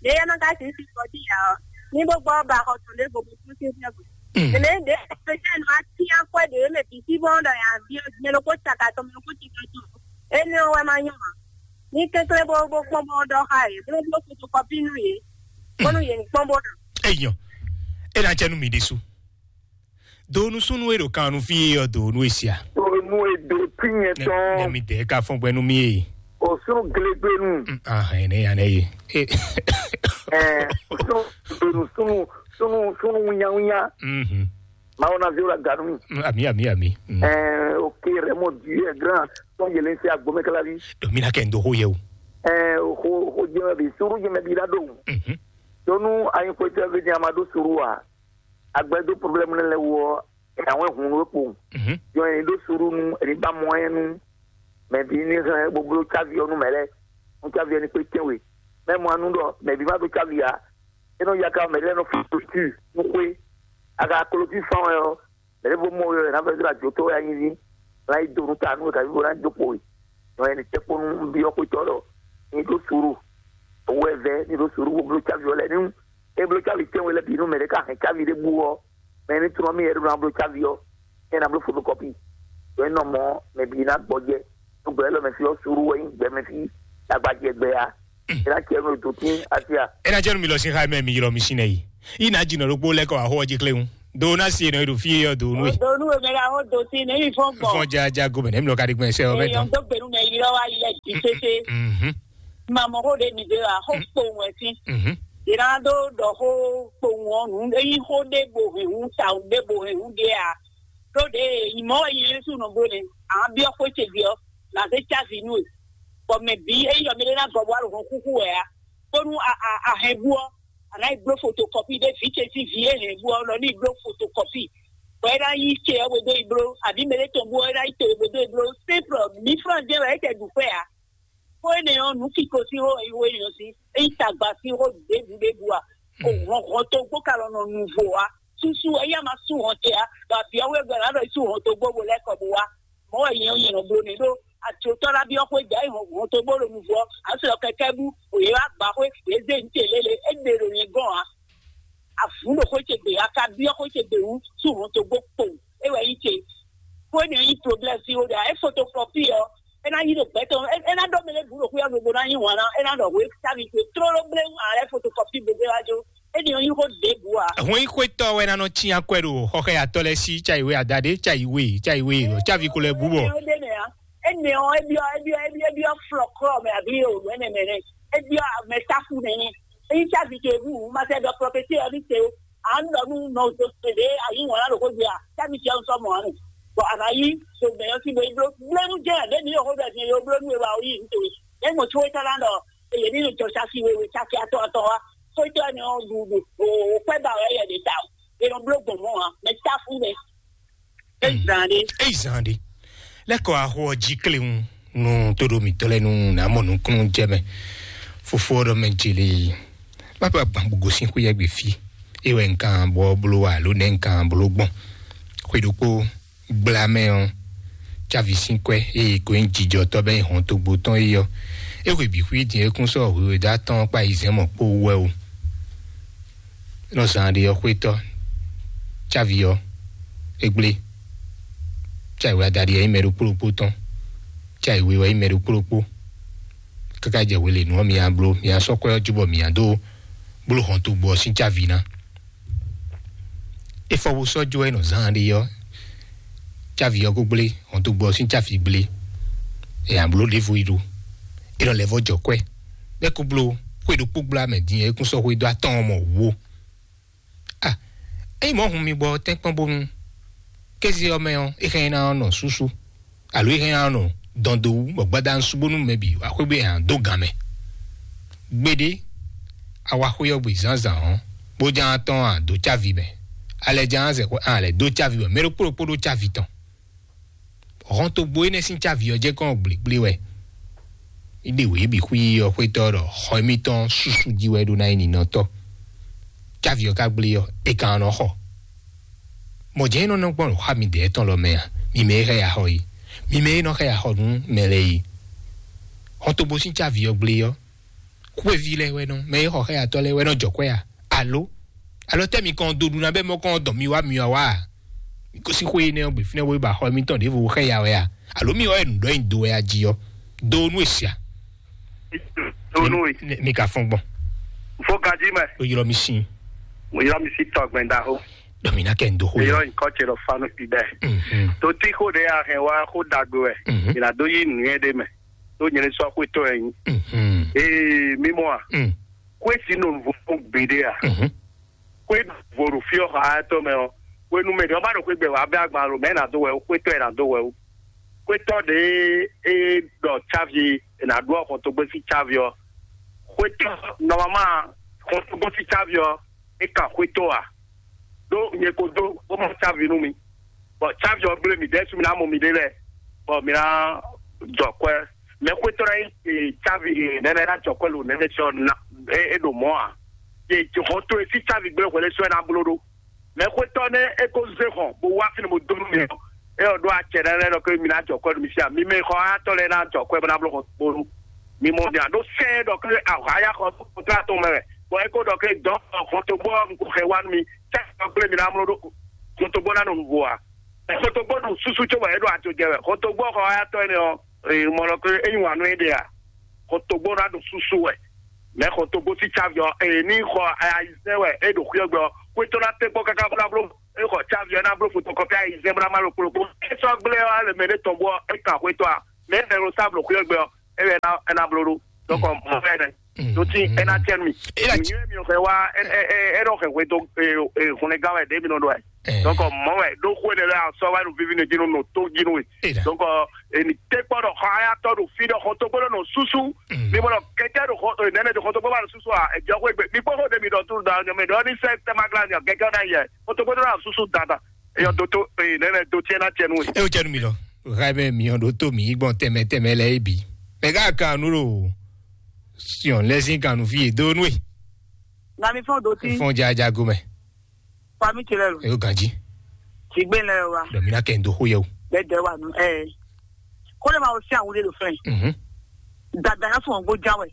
Ɖě é má ka sixú fi kɔsí ǎ ɔ́, ní bó gbɔ ba xɔ tɔn ɖěvo bó kú sín sɛ́ gbe. Mɛ ɖě pɛtɛ́ nɔ atín akwɛ́ ɖě mɛ bǐ sí bɔ ɖɔ yǎ byɔ́ mɛ ɖokpó caka tɔn, mɛ ɖokpó cika tɔn. Énɛ́ ɔ́ wɛ má nyɔ́ ǎ. Ní kɛnklɛ́n bó bó kpɔ́n bó ɖɔ xá yě, bó bló fotokɔpi nú yě, bónú yě ní kpɔ́n bó ɖɔ. Eyɔn, é ná jɛ nú mi ɖésú. Do nú súnnu e ɖo kan nú fí é ɔ́, do nú e sia. Tonu edo tinyɛ Nɛ tɔn mi dɛ ka fɔn gbɛ nú mi e. Osunu glegbenu. Ah, ene ya ne ye. Eh, sunu sunu sunu sunu wunya wunya. Mhm. Mawu na viwo la ganu mi. Mm, ami ami ami. Mm. Eh, ok, Raymond Dieu est grand. Ton yelen se agbome kala vi. Do mi na kɛ ndo ho ye o. Eh, ho ho jeme bi suru jeme bi la do. Mhm. Tonu ayin ko te ve ni amado suru a. Agbɛdo problème ne le wo. E awon hun we po. Mhm. Yo en do suru nu, e ba mo en nu. Mais bi ni hɛn bó bló cávi ɔ́ nú mɛ lɛ́ɛ. Nú cávi ɔ́ ní kpé tɛ́nwe. Mɛ mɔ anu ɖɔ mɛ bi ma ɖó cávi ǎ. É nɔ ya ka mɛ lɛ́ɛ nɔ fún clôture nú xwé. A ka clôture fán wɛ ɔ́, mɛ lɛ́ɛ bó mɔ wɛ ná vɛ́ zlá jǒtɔ́ wɛ anyi ví. Ná yi do nú ta nú wɛ kaví bó ná dó kpo we. Nɔ ɛni tɛ́ kpó nú byɔ́ xwétɔ́ ɖɔ ní ɖó suru. Owó ɛ vɛ́ ní ɖó suru bó bló cávi ɔ́ lɛ́ɛ ní. É bló cávi tɛ́nwe lɛ́ɛ bǐ nú mɛ ɖé ka hɛn cávi ɖé bú ɔ́, mɛ ní trɔ́n mì yɛ ɖó ná bló cávi ɔ́, é ná bló fotokɔpi. Ɖó é nɔ mɔ mɛ bǐ ná gbɔjɛ. Nú gbɛ élɔ́ mɛ fí ɔ́, suru wɛ nyí gbɛ mɛ fí agbajɛ gbɛ ya. É ná cɛ nú ètò tín asia. É ná jẹ́ nu mi lɔ sí xá mɛ mi ylɔ mi sí nɛ yi. Yi ná jìnnà ɖokpó lɛ́ kɔ wá xó ɔ́ jí kléwún. Do ná si nɔ e ɖo fí é ɔ́ do nú e. Donu eme la ho do ti ne yi fɔn gbɔ. Fɔn jaja gomɛ nɛ mi lɔ ka ɖi gbɛn sɛ ɔ́ mɛ Eyan dɔn. Do gbenu mɛ yi lɔ wa yi lɛ di sese. Mhm. Ma mɔ ho de mi de la ho kpowun ɛ si. Mhm. Ina do dɔ ho kpowun ɔ nu eyi ho de bo he hu ta de bo he hu de a. Do de imɔ yi Yesu nɔ bo ne. A biɔ ko ce biɔ. Na se ca vi nu e. Bɔ mɛ bi eyi yɔ mi de na gɔ bo alo hɔn kuku wɛ a. Bonu a a a hɛn bu ɔ, a nǎ yi bló fotokɔpi ɖé vǐ ce sín vǐ e hɛn bu ɔ́ nɔ ní yi bló fotokɔpi, bɔ é ná yí ce ɔ́ bó dó yi bló, abǐ mɛ ɖé tɔn bú ɔ́ é ná yí to bó dó yi bló. Simple, mǐ flán jɛ́n wɛ é tɛ ɖu xwé ǎ. Xó énɛ́ ɔ́, nǔ kiko sín xó e xó énɛ́ ɔ́ sín, é nyí tagba sín xó ɖěbǔ ɖěbǔ ǎ. O hɔn hɔn togbó ka lɔ nɔ nu vo ǎ. Susu é yá ma sú hɔn ce ǎ, bɔ abǐ ɔ́ wé gbɛ ná ɖɔ yi sú hɔn togbó bo lɛ́ kɔ bo wá. Mɔ̌ wɛ nyɛ ɔ́, nyɛ nɔ bló nɛ́ ɖó atsotɔ́ ná byɔ́ xwé jǎ yi hɔn hɔn togbó ɖo nuvɔ ǎ. Sɔ kɛkɛ́ bú, wě wá gbǎ xwé, wě zé nǔ ce lélẹ̀, é ɖe ɖo nyɛ gɔ́n ǎ. Avǔ ɖo xwé ce gbe, a ka byɔ́ xwé ce gbe wú sú hɔn togbó kpowun. É wɛ nyí ce. Xwé nɛ́ nyí problème sín xó ɖe ǎ. É fotokɔpi ɔ́, é ná yí ɖo gbɛ̌ tɔn, é ná ɖɔ mɛ lɛ́ɛ bǔ ɖo xwé ɔ́ gbe bó ná nyí wǎn ná, é ná ɖɔ hwě sávi ce tlóló bléwún ǎ lɛ́ fotokɔpi gbe gbé wá jó. É ɖi ɔ́ nyí xó ɖěbǔ ǎ. Hɔn yí xwétɔ́ wɛ ná nɔ cí akwɛ́ ɖo xɔxɛyatɔ́ lɛ́ɛ sí, cayi we adaɖé, cayi we, cayi we, cavi ko lɛ́ bú bɔ. Énɛ́ ɔ́ ɖe mɛ ǎ. Énɛ́ ɔ́, é byɔ́, é byɔ́, é byɔ́, é byɔ́ flɔklɔ́ mɛ abǐ o nɛnɛ mɛ nɛ. É byɔ́ mɛ tákú nɛnɛ. É nyí cavi ce bú, ma sɛ ɖɔ prɔfɛsí ɔ́ ní te o. À ń lọ nú nɔ tó tẹ̀lé àyíwọ̀n lálòkó gbé à, tábì jẹun sọmọ àánú. Bọ̀ àná yí, ṣògbẹ̀yàn sí bo ibló, blónú jẹ́ àdébí yóò hóbẹ̀ ní yóò blónú ìwà oyí nítorí. Lẹ́yìn mo tún wé tọ́lá lọ, èyí nínú ìjọ ṣáṣí wéwé ṣáṣí atọ́ atọ́ wa. Ó jẹ́ ẹni ọ̀hún dùdù, òwò pẹ́ bá ọ̀rẹ́ yẹn lè ta o. È nɔ bló gbɔn mɔ̌ ǎ, mɛ táfú mɛ. É zan ɖé. Eyi zan ɖe. Lɛkɔ axo ɔ jí kléwun nú tóɖo mǐtɔn lɛ́ɛ nú nǎ mɔ nukúnnú jɛ mɛ. Fofó ɔ́ ɖɔ mɛ jeli má bá gbǎn bó gosín xwé yɛ́ gbe fí. É wɛ nkan bɔ bló wa alo nɛ nkan bló gbɔn. Xwé ɖokpó gbla mɛ ɔ́, cávi sín kwɛ́ eye kò nyí jijɔtɔ́ bɛ́ nyí hɔn togbo tɔn é ɔ́, é hwe bǐ xwí din é kún sɔ́ hwǐhwɛ́ dó atɔ́ɔ́n kpá yi zɛ́n mɔ̌ kpó wú wɛ o. Nɔ zán ɖé ɔ́ xwétɔ́, cávi ɔ́, é gblé. Cávi wɛ adaɖi ɔ́ nyí mɛ ɖokpó ɖokpó tɔn, cávi we wɛ nyí mɛ ɖokpó ɖokpó. Káká jɛ hwelěnu ɔ́, mi a bló, mi a sɔ́ kwɛ́ ɔ́ jú bɔ mi a dó bló hɔn togbo ɔ́ sín cávi ná. É fɔ bó sɔ́ jó wɛ nɔ zán ɖé ɔ́, cávi ɔ́ ko gblé, hɔntogbɔ ɔ́ sín cávi gblé. È nǎ bló ɖěvo yi ɖó. É nɔ lɛ́ vɔ́ jɔ kwɛ́. Bɛ́ ko bló xwé ɖokpó gbla mɛ din é kún sɔ́ xwé dó atɔ́ɔ́n mɔ wú ó. A ényí mɔ̌ hun mi gbɔ tɛ́nkpɔ́n bónú kéze ɔ́ mɛ ɔ́, é hɛn ná nɔ súsú, alo é hɛn ná nɔ dɔn dó wú, bɔ gbadanu sú bónú mɛ bǐ wá xwé bó è nǎ dó gǎn mɛ. Gbeɖé, a wá xwé ɔ́ gbe zǎnzǎn ɔ́, bó ján tɔ́n a dǒ cávi mɛ. A lɛ ján zɛ xwé a lɛ dó cávi mɛ. Mɛ ɖokpó ɖokpó ɖó cávi tɔn. Hɔn togbo énɛ́ sín cávi ɔ́ jɛ kɔn gblěgblé wɛ. Ní ɖe wě bǐ xwí ɔ́ xwétɔ́ ɖɔ xɔ émítɔn súsú jí wɛ ɖó ná nyí ninɔtɔ́. Cávi ɔ́ ka gblé ɔ́, é ka nɔ xɔ. Mɔ̌ jɛ́n é nɔ nɔ gbɔn xá midɛɛ tɔn lɔ mɛ a? Mi mɛ e xɛ ya xɔ é, mi mɛ e nɔ xɛ ya xɔ nú mɛ lɛ́ɛ é. Hɔn togbo sín cávi ɔ́ gblé ɔ́, xwéví lɛ́ɛ wɛ nɔ, mɛ e xɔ xɛyatɔ́ lɛ́ɛ wɛ nɔ jɔ kwɛ́ a? Alo alo tɛ́ mi kɔn dó ɖu ná bɛ́ mɔ kɔn dɔn mi wá mi wá wá a? Mi gosín xwé énɛ́ ɔ́ gbe fínɛ́ wó ba xɔ émítɔn ɖěvo xɛ ya wɛ a? Alo mi wá wɛ nǔ ɖɔ nyi do wɛ a jí ɔ́? Do nú e sia. Do nú e. Mi ka fɔn gbɔn. Fo gají mɛ. O ylɔ mi sin. Mo ylɔ mi si tɔgbɛn da ho. Dɔ mi na kɛ n do xo. Ylɔ nkɔ tse lɔ fanu kpi bɛ. Mhm. To ti xo ɖe a hɛn wa xo dagbe wɛ. Mhm. Ila do yi nuyɛ ɖe mɛ. To nyɛ sɔ xo to yɛ nyi. Mhm. Ee, mi mɔ a? Mm. Xwé si nɔ vo gbeɖe a? Mhm. Xwé vo ɖo fi ɔ́ xa tɔ mɛ ɔ. Xwé nu mɛ ɖe ɔ́ ba ɖo xwé gbɛ wa bɛ agban lo mɛ na do wɛ o, xwé tɔ yɛ na do wɛ o. Xwé tɔ ɖe e ɖɔ cavi e na ɖu ɔxɔntogbe si cavi ɔ. Xwé tɔ nɔmama xɔntogbe si cavi ɔ, e kan xwé tɔ a? Ɖó nyɛ ko dó bó mɔ cavi nú mi. Bɔ cavi ɔ gblé mi ɖɛ́ sú mi ná mɔ mi ɖé lɛ́ɛ, bɔ mi ná jɔ kwɛ́. Mɛ xwétɔ́ ná nyí cavi nɛnɛ ná jɔ kwɛ́ lo nɛnɛ sɔ na é ɖo mɔ̌ ǎ. Ye hɔn to e sí cavi gblé hwɛlɛ sɔ ɛ ná bló ɖó. Mɛ xwétɔ́ nɛ é ko zé hɔn bó wá fínɛ́ bó dó nú mi ɔ́, é ɔ́ ɖó acɛ ná lɛ́ɛ ɖɔ ké mi ná jɔ kwɛ́ nú mi sí ǎ. Mi mɛ xɔ ayatɔ́ lɛ́ɛ ná jɔ kwɛ́ bó ná bló hɔn bó nú mi mɔ mi ǎ ɖó sɛ́n ɖɔ ké ahǎya xɔ kɔntrá tɔn mɛ wɛ. Bɔ é ko ɖɔ ké dɔ̌n hɔn to gbɔ un ko xɛ wá nú mi, sɛ́n ɔ́ gblé mi ná mló ɖó hɔn to gbɔ ná nɔ nǔvo ǎ. Xɔtɔgbɔ ɖo susu tso wɛ é ɖo adzo jɛ wɛ. Xɔtɔgbɔ xɔ ayatɔ énɛ́ ɔ́, ee, mɔ lɔ ké é nyi wǎn nú é ɖe a? Xɔtɔgbɔ ná ɖo susu wɛ. Mɛ xɔtɔgbɔ sí tsavi ɔ́, ee, ní xɔ ayizɛ́n wɛ é ɖo xwíɔ́gbɛ ɔ́, xwétɔ ná tɛ́ kpɔ́ káká bó ná bló é xɔ tsavi ɔ́ ná bló fotokɔpi ayizɛ́n bó ná má lo kplokpó. É sɔ́ gblé ɔ́, alɛ mɛ ɖé tɔn bɔ é kan xwétɔ a? Mɛ é nɛ́ ló sá bló xwíɔ́gbɛ ɔ́, é wɛ é ná bló ɖó. Donc mɔ fɛ nɛ. Tó tí ɛ ná tiɛ mi. Ìyẹn mi ò fẹ́ wá ẹ ẹ ẹ ẹ dọ̀ fẹ́ wé tó hùnlẹ̀ gán wẹ̀ débi nínú ẹ̀. Donc mɔ wẹ̀ ló kó ẹ̀ lẹ́la sọ wá ló fífi ní jínú nù tó jínú wẹ̀. Donc èmi tẹ́ kpọ́ dọ̀ xɔ ayá tọ́ dò fí dọ̀ xɔ tó gbọ́dọ̀ nù súsú. Ní mo lọ kẹjá dò xɔ nẹ́nẹ́ dò xɔ tó gbọ́dọ̀ nù súsú à ẹ̀jẹ̀ kó egbe. Mi kpọ́ kó dèmi dọ̀ tó dà ọ̀nyọ́ mi dọ̀ ní sẹ́ tẹ́máglá ni kẹjá náà yẹ xɔ tó gbọ́dọ̀ nù súsú dàda. Èyàn tó tó nẹ́nẹ́ tó tiẹ̀ náà tiẹ̀ nù wẹ̀. Ẹ o jẹ́ nu mi lọ. Raimɛ mi ɔn ɖo tó mi gbɔn tɛmɛ tɛmɛ lɛ ebi. Mɛ ká kan nu lo. Siɔn lɛ sin kan nu fi e do nu e. Na mi fɔn do ti. Fɔn jajago mɛ. Fa mi tse lɛ lo. E o ganji. Ti gbe lɛ wa. Dɔ mi na kɛ n do xo yɛ o. Bɛ dɛ wa nu ɛ. Ko le ma o si awude lo fɛn. Mhm. Dada ya fɔn gbo ja wɛ.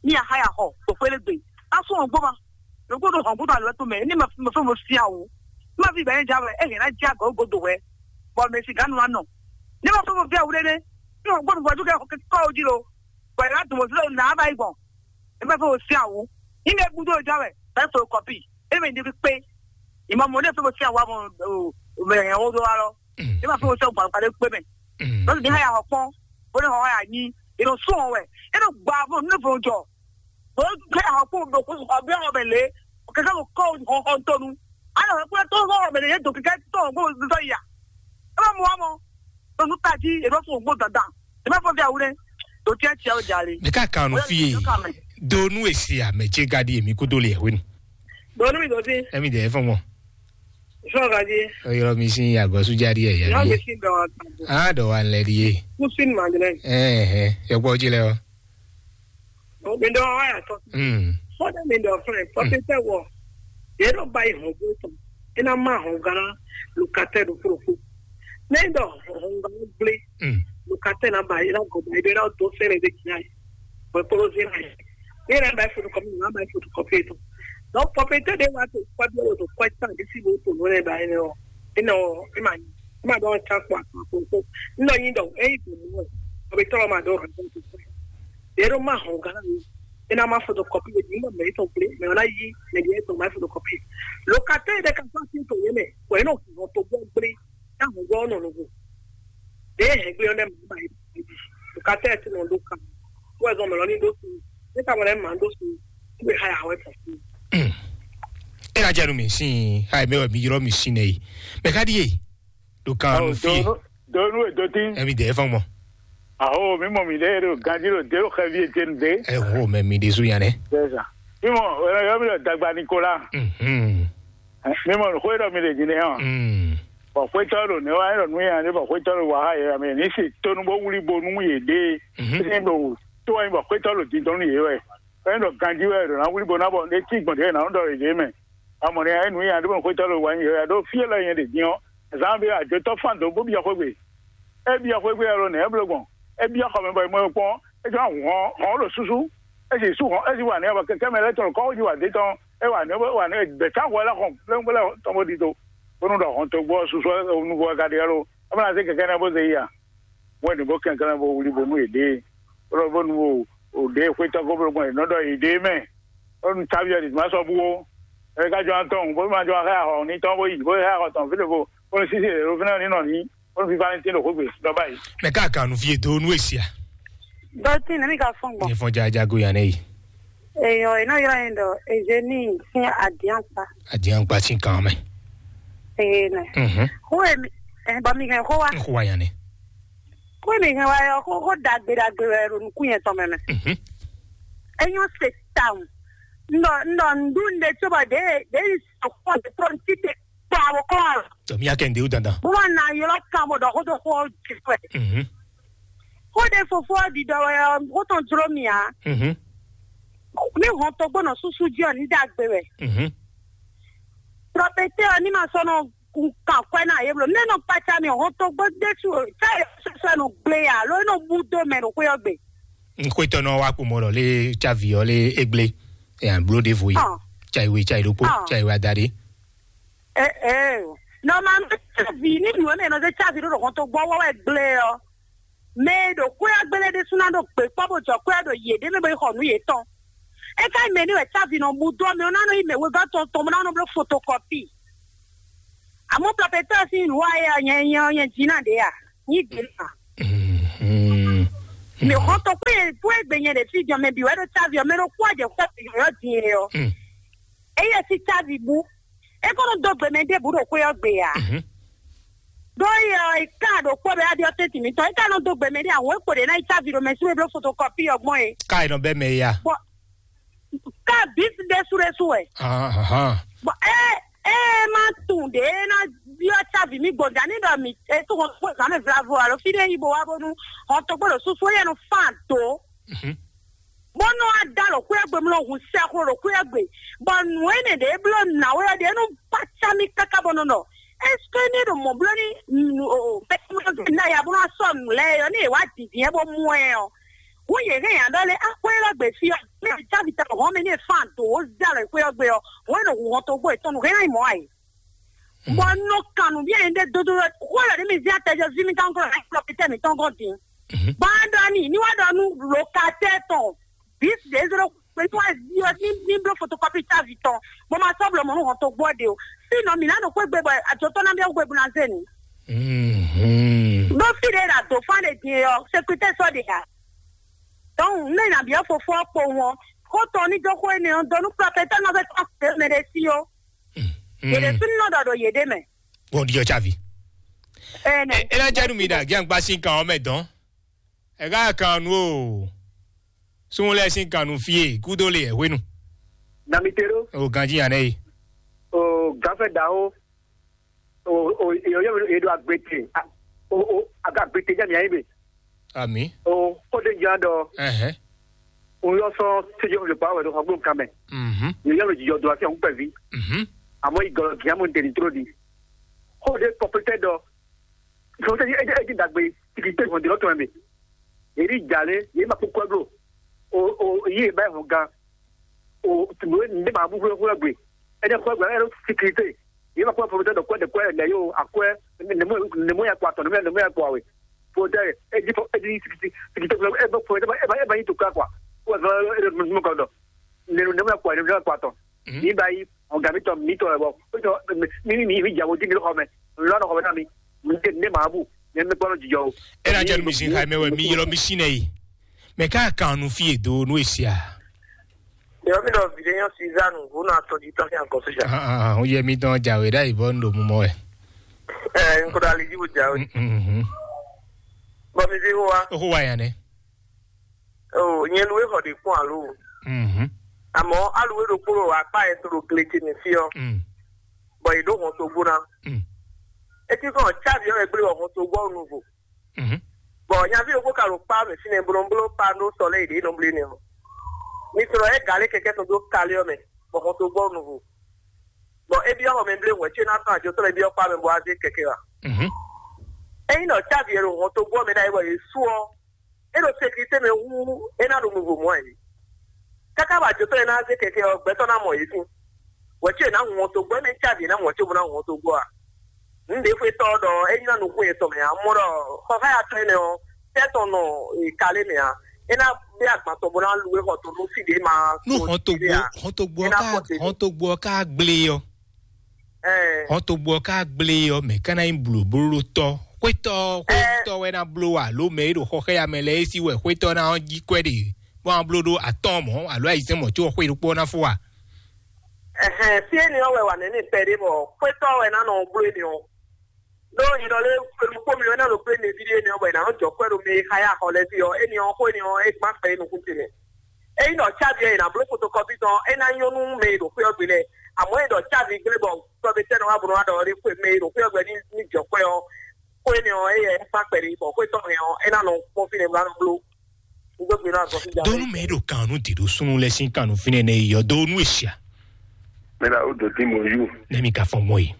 Ni a ha ya xɔ o fele gbe. A fɔn gbo ma. Lo ko do hɔn gbo ma lo to mɛ. Ni ma fɔn mo si awu. Ma fi bɛ ja wɛ. E hɛn na ja go go do wɛ. Bɔ mɛ si ganu anɔ. Ni ma fɔn mo fi awude ne. Ni hɔn gbo mo ju kɛ kɔ o ji lo. Bɔ e na dun mo fi lo na ba yi gbɔn. E ma fɔn mo si awu. Ni ne gbudo ja wɛ. Bɛ fo kɔpi. E mɛ ni bi kpe. Ìmọ̀ mọ̀ ní ìfẹ́ mo sí àwọn ọmọ mẹ̀rẹ̀ ẹ̀hún ló wá lọ. Ní ma fẹ́ mo sọ gbàgbà lé pé mẹ́. Lọ́sùn ní háyà ọ̀pọ̀, ó ní ọ̀hún àyà yín. Èrò sún ọ̀hún ẹ̀, èrò gbà fún mi fún jọ. Mo ń gbé àwọn kó lò kó ọ̀bẹ ọ̀bẹ lé, kẹ̀kẹ́ mo kọ́ ọ̀hún tọ́nu. A lọ pé tó ọ̀hún ọ̀bẹ lè yé dò kẹ̀kẹ́ tó ọ̀hún kó sọ ìyà. Ẹ bá mu wá mọ́, lọ́sùn tají, èrò fún ògbó dandan. Ẹ bá fọ́ bí àwúrẹ́, tó tiẹ̀ tiẹ̀ ó jalè. Mɛ ka kan nu fi ye. Do nu esi ame ce ga di emi kudo le hwenu. Do nu mi do si. Emi de fɔ mo. Sɔgadi. Oyɔrɔ mi sin agɔsu jadi ɛ Yɔ mi yabi. Sin dɔ wa tabo. Ah, dɔ wa lɛ di ye. Kusin magre. Eh, eh, yɔkpɔ ji lɛ o. Mi dɔ wa ya tɔ. Hmm. Fɔdɛ mi dɔ fɛn. Fɔte tɛ wɔ. Ye dɔ ba yi hɔn bo tɔ. Ina ma hɔn gana lukatɛ do fofo. Ne dɔ hɔn gana gble. Hmm. Lukatɛ na ba ina gɔ ba ina do sɛnɛ de kia. Bɔ kpolo zina yi. Ní yẹn bá photocopy, ní bá photocopy tó. Donc propriétaire de wa tó kɔbi o tó kɔɛ tán di si bo tó lónìí báyìí ní o. Ina o ima ima dɔn tán kó àtúntò tó. Ina yin dɔn eyi tó mú ɛ. Ɔbi tɔlɔ ma dɔn rẹ tó tó. Yẹrẹ ma hɔn gánà mi. Ina ma photocopy de di ma mɛ tó gblé mɛ ɔna yi mɛ di tó ma photocopy. Locataire de ka fa si tó yé mɛ. Kò ina o tó gbɔ gblé. Táwọn gbọ́ ọ̀nà lóko. Bẹ́ẹ̀ ẹgbẹ́ ọ̀nà màmá yìí bùkátà ẹ̀ tí wọ́n ló kà. Wọ́n ẹ̀gbọ́n mi lọ ní lóṣù. Níta wọn ẹ̀ máa ń lóṣù. Wíwé háyà àwọn ẹ̀fọ́ sí. Ena janu mi sin hai mɛ mi yɔrɔ mi sin nɛ yi. Mɛ ka di ye. Do kan nu fi. Donu e doti. Emi de fɔn mɔ. Aho mi mɔ mi de do ganji do de do xɛvi ete nu de. Ɛ ho mɛ mi de su yan nɛ. Sɛsa. Mi mɔ ɛ yɔ mi dɔ dagba Nikola. Mhm. Mi mɔ xwe dɔ mi de jine hàn. Mm. Bɔ xwetɔ ɖo ne wa ɖɔ nu ya ne bɔ xwetɔ ɖo wa ha yɛ mi ni si tonu bó wuli bo nú yě ɖe. Mhm. Sin ɖo tó wɛ bɔ xwetɔ ɖo dindɔn nú yě wɛ. Fɛn ɖɔ ganji wɛ ɖo na wuli bo na bɔ ne tí gbɔn ɖě na ɖɔ yě ɖe mɛ. Amɔ ne ayé nu ya ɖo xwetɔ ɖo wa yɛ ɖo fie lɛ yɛ ɖe din ɔ. Zan bi adzɔtɔ fan do bó bi xwegbe. E bi xwegbe alo ne e blo gbɔn. E bi xɔ mɛ bɔ e mɔ kpɔn. E jɔ hɔn hɔn ɖo susu. E si su hɔn e si wa ne bɔ kɛkɛ mɛ lɛ tɔn kɔ ji wa de tɔn. E wa ne wa ne gbɛtsa hɔ lɛ xɔ plɛnplɛn tɔn bó di do. Bónú ɖɔ hɔn togbó ɔ́ susɔ nuvo ɔ́ ka ɖe ɔ́ lo, é ma ná zé kɛkɛ́ nɛ́ bó zé yi a? Wɛn ɖě bó kɛnklɛ́n bó wlí bónú yě ɖée, bó ɖɔ bónú o ɖě xwétɔ́ ko bló gbɔn yě nɔ ɖɔ yě ɖée mɛ, bónú táví ɔ́ ɖi má sɔ́ bú ó. É ka jɔ atɔn bó ma jɔ xá axɔ ní tɔn bó yi bó xá axɔ tɔn fí ɖěvo, bónú sísí yě ɖo fínɛ́ ní nɔ ní, bónú fífá ní tín ɖo xwé gbe ɖɔ báyìí. Mɛ ká kan nu fí e dó nú e sia. Dɔtin ne mi ka fɔn gbɔn. Nyɛ fɔn jaja go yan nɛ yi. Eyɔ, e nɔ ylɔ yin ɖɔ Eugenie sin adiankpa. Adiankpa sin kan mɛ. Ee nɛ. Mhm. Xó e mi, ɛ, bɔ mi hɛn xó wa. Xó wa yan nɛ. Xó e mi hɛn wa yɔ, xó, xó ɖagbe ɖagbe wɛ ɖo nukún yɛn tɔn mɛ mɛ. Mhm. Enyɔ se tawun. Ndɔ, ndɔ ndu nde tso bɔ de, de yi sɔkpɔ de tɔn ti te kpa wo kɔn. Tɔ mi ya kɛ nde o dandan. Bó wà ná yɔlɔ kan bɔ dɔ xó tó xó jifɛ. Mhm. Xó ɖe fofo ɔ́ ɖiɖɔ wɛ ɔ́, xó tɔn jló mì ǎ. Mhm. Ní hɔn togbó nɔ súsú jí ɔ́, ní ɖagbe wɛ. Mhm. Prɔfɛtɛ ɔ́, ní ma sɔ́ nɔ kan kwɛ́ ná yě bló. Nɛ́ nɔ kpaca mì hɔn togbó ɖésú o, tá yě sɔsɔ nɔ gblé yà, ló nɔ bú dó mɛ ɖo xwé ɔ́ gbe. N xwétɔ́ nɔ wá kpomɔ ɖɔ lé cávi ɔ́ lé égbé. Ɛ, bló ɖěvo yi. Ɔ́. Cá ìwé, cá ìlókpó, Ɔ́. Cá ìwé adaɖé. Ɛ, ɛ, nɔ ma mɛ cávi ní nǔ ɔ́ mɛ nɔ zé cávi ɖó ɖo hɔn togbó ɔ́ wɛ gblé ɔ́. Mɛ e ɖo xwé ɔ́ gbélé ɖésú ná ɖo gbě kpɔ́ bó jɔ xwé ɔ́ ɖo yěɖée mɛ bó yi xɔ nǔ yětɔn. É ka nyí mɛ ní wɛ cávi nɔ bú dó ɔ́, mɛ ɔ́ ná nɔ yí mɛ wegɔ́ tɔn tɔn bó ná nɔ bló fotokɔpi. Amɔ̌ plɔpɛtɔ́ ɔ́ sín nǔ wa éyɛ́ ɔ́, nyɛ nyɛ ɔ́, nyɛ jí ná ɖě a? Nyí ɖě a? Mhm. Mɛ xɔ́ntɔn kpé kpó e gbe nyɛ ɖe fí jɔ mɛ bǐ wɛ ɖo cávi ɔ́, mɛ ɖokpó ɔ́ jɛ xwé yɔ̌yɔ́ din e ɔ́. Mm. Éyɛ́ sín cávi bú. É kó nɔ dó gbe mɛ ɖěbǔ ɖo xwé ɔ́ gbe ǎ. Mhm. Ɖó éyɛ́ ɔ́, è ká ɖokpó bɛ wá ɖyɔ́ tɛ́ntin mǐtɔn. É ka nɔ dó gbe mɛ ɖé ǎ, hǔn é kpo ɖě ná yi cávi ɖo mɛ sú e bló fotokɔpi ɔ́ gbɔn é. Ká è nɔ bɛ́ mɛ ya. Bɔ ká bǐ ɖésú ɖésú wɛ. Ahan. Bɔ é é ma tunwun ɖě é ná byɔ́ cávi mì gbɔn jà ní ɖɔ mì é tó hɔn kpó zǎn mɛ vlavo alo fí ɖé yí bo wá bónú hɔn togbó ɖo súsú éyɛ́ nɔ fán dǒ. Mhm. Bó nɔ wá dó alɔ xwé ɔ́ gbe, mlɔ hun sɛxlo ɖo xwé ɔ́ gbe, bɔ nǔ énɛ́ ɖě bló nǎwe ɔ́ ɖě nɔ kpácá mì káká bɔ nɔ ɖɔ, est-ce que ní ɖo mɔ̌ bló ní mɛtɔmɔtɔ ná ya bó ná sɔ́ nǔ lɛ́ɛ ɔ́, ní è wá dǐndín ɛ bó mú ɛ ɔ́, hǔn yě hɛn nya ɖɔ lé axwé élɔ́ gbe fí ɔ́, mɛ e cávi ta hɔn mɛ ní è fán dǒ wó zé alɔ xwé ɔ́ gbe ɔ́, hǔn é nɔ hu hɔn togbó yětɔn nǔ hɛn ná yi mɔ̌ ǎ é. Bɔ un nɔ kan nǔ byɔ́ nyɛ ɖé dódó wɛ, xó lɔ ɖě mi zé atɛ jɔ fí mì tɔn glɔ́ ná yi kplɔ́ fítɛ́ mǐtɔn gɔ́n din. Mhm. Bɔ a ɖɔ ni ní wá ɖɔ nú lokatɛ́ tɔn bǐ ɖě zé ɖó xwé ní wá zí ɔ́ ní ní bló fotokɔpi távi tɔn, bɔ ma sɔ́ blɔ mɔ̌ nú hɔn togbó ɔ́ ɖe o. Fí nɔ mǐ ná nɔ xwé gbe bɔ ajotɔ́ ná byɔ́ xwé bó ná zé nǔ. Mhm. Ɖó fí ɖě ɖo adǒfán ɖe din e ɔ́, sekúritɛ́ sɔ́ ɖe ǎ. Dɔnku, nú è nǎ byɔ́ fofó ɔ́ kpowun ɔ́, xó tɔn ní dó xó énɛ́ ɔ́ dó nú plɔfɛtɔ́ nɔ vɛ tɔn xwé mɛ ɖé sí ó. Mm. Yě ɖésú ní nɔ ɖɔ ɖo yěɖée mɛ. Bɔn ɖiɔ tsavi. Ɛnɛ. E la janu mi da giangba sin kan ɔmɛ dɔn. Ɛ ka kan nu o. Sun lɛ sin kan nu fie kudo le ɛ hwenu. Damitero. O ganji yan nɛ yi. O gafɛ daho. o o e o yɔ e ɖo agbete o o aga agbete jɛ mi ayi be. Ami. O ko de jan dɔ. Ɛhɛn. O yɔ sɔn sejɔ le pa wɛ do xɔgbɔn kan mɛ. Mhm. Yɔ yɔ le jijɔ do asi ɔn pɛvi. Mhm. Amɔ igɔlɔ giamu de ni tro di. Ko de pɔpɛtɛ dɔ. Sɔn tɛ e e di dagbe tigi te hɔn di lɔ tɔn mɛ. Eri jale ye ma kpɔkpɔ blo. O o ye ba hɔn gan. O tugbe ne ma bu hwɛ hwɛ gbe. Ɛdɛ hwɛ gbe ɛdɛ sikirite. Ye ma kpɔkpɔ blo tɛ dɔ kwɛ de kwɛ ne yo akwɛ ne mo ne mo ya kwa tɔ ne mo ya kwa we. Fo tɛ e di fo e di sikirite sikirite fo e ba fo e ba e ba yi to ka kwa. Ko e ba e de mo ka dɔ. Ne ne mo ya kwa ne mo ya kwa tɔ. Ni ba yi ɔn gabi tɔ mi tɔ ɛ bɔ. Ko tɔ mi mi mi jawo di mi xɔ mɛ. Lɔ nɔ xɔ mɛ na mi. Mi te ne ma bu. Ne mi kpɔnɔ jijɔ o. E na jɔ mi sin xayi mɛ wɛ mi ylɔ mi sin nɛ yi. Mɛ ká kan nu fi e do nu e sia. Yɔ mi dɔ vi ɖe nyɔ Suzanne ŋu na tɔjú tɔn fi ankɔ soja. Ah, ah, ah, ó yẹ mi dán jàwé ɖá ìbọn ń lò mú mọ́ ẹ̀. Ɛ n kò dá lè jí bó jà o. Mhm. Bɔ mi fi wá. Ó kó wá yàn nẹ. O nyɛ lu exɔ ɖe kpɔn alo. Mhm. Àmọ́ aluwe ɖokpó ɖo akpá yẹn tó ɖo glece mi fi ɔ. Mm. Bɔ yě ɖó hɔn tó gbóná. Mm. Etí kàn tsávi ɔ wɛ gblé wɔ hɔn tó gbɔ nuvo. Mhm. Bɔ nyaví ɖokpó ka ɖo kpá mɛ fínɛ́ blóbló kpá ɖó sɔ lɛ́ yě ɖě nɔ blé nɛ ɔ. Mi sɔrɔ ɛ galé kɛkɛ tɔn dó kalé ɔ mɛ, bɔ hɔn tó gbɔ nuvo. Bɔ é byɔ́ xɔ mɛ blé wɛ̌ cé ná tɔn àjọ tɔn lɛ byɔ́ kpá mɛ bɔ azé kɛkɛ wa. Mhm. Ényí nɔ tsávi ɛ ɖo hɔn tó gbɔ mɛ ɖ'ayǐ bɔ yě sú ɔ, é ɖo sécurité mɛ hú é ná ɖo nuvo mɔ̌ ɛ. Káká bɔ àjotɔ́ e ná zé kɛkɛ ɔ gbɛtɔ́ ná mɔ yě sín. Wɛ̌ cé ná hun ɔ́ togbɔ, énɛ́ cávi ná mɔ cóbó ná hun ɔ́ togbɔ a? Nǔɖéfóetɔ́ ɔ́ ɖɔ é nyí ná nukún yětɔn mɛ ǎ, mɔ ɖɔ xɔxáyatɔ́ énɛ́ ɔ́, tɛ́ tɔn nɔ kalé mɛ ǎ. É ná bɛ́ agban tɔn bó ná lu é xɔ tɔn nú fí ɖě ma. Nú xɔ́ntogbo xɔ́ntogbo ɔ́ ká xɔ́ntogbo ɔ́ ká gblé ɔ́. Xɔ́ntogbo ɔ́ ká gblé ɔ́, mɛ̌ ka ná nyí blǒblótɔ́? Xwétɔ́ xwétɔ́ wɛ ná bló wɛ alo mɛ e ɖo xɔxɛ́ya mɛ lɛ́ɛ é sí wɛ xwétɔ́ ná ɔ́ jí kwɛ́ ɖe bó ná bló ɖó atɔ́ɔ́n mɔ̌ alo ayǐzɛ́n mɔ̌ có xwé ɖokpó ɔ́ ná fó a? Ɛhɛn, fí énɛ́ ɔ́ wɛ wǎ nɛ́ n'i kpɛɖé bɔ xwétɔ́ wɛ ná nɔ bló énɛ́ ɔ́. Ɖó nyɛ ɖɔ lé xwenu kpó mi wɛ ná ɖo kplé nɛví ɖé énɛ́ ɔ́ bɔ è nǎ nɔ jɔ kwɛ́ ɖo mɛ e xá yá xɔ lɛ́ɛ fí ɔ́, énɛ́ ɔ́ xó énɛ́ ɔ́ é gbán kpɛ é nukún ce mɛ. Ényí ɖɔ cávi ɔ́ è nǎ bló fotokɔ́pi tɔn, é ná nyɔ́ nú mɛ e ɖo xwé ɔ́ gbe lɛ́ɛ. Àmọ́ è ɖɔ cávi gblé bɔ tɔ́ ɖé tɛ́ nɔ wá bó nɔ wá ɖɔ ɔ́ ɖé xwé mɛ e ɖo xwé ɔ́ gbe ní ní jɔ kwɛ́ ɔ́, xó énɛ́ ɔ́, é yɛ é kpán kpɛɖé bɔ xwé tɔn hɛn ɔ́, é ná nɔ kpɔ́n fínɛ́ bó ná nɔ bló. Un gbé gbe ná azɔn fí ja. Donu mɛ ɖo kan nu di ɖo sunu lɛ sin kan nu fínɛ́ nɛ yɔ donu esia. Mɛ la o do ti mo yu. Ne mi ka fɔ mɔ yi.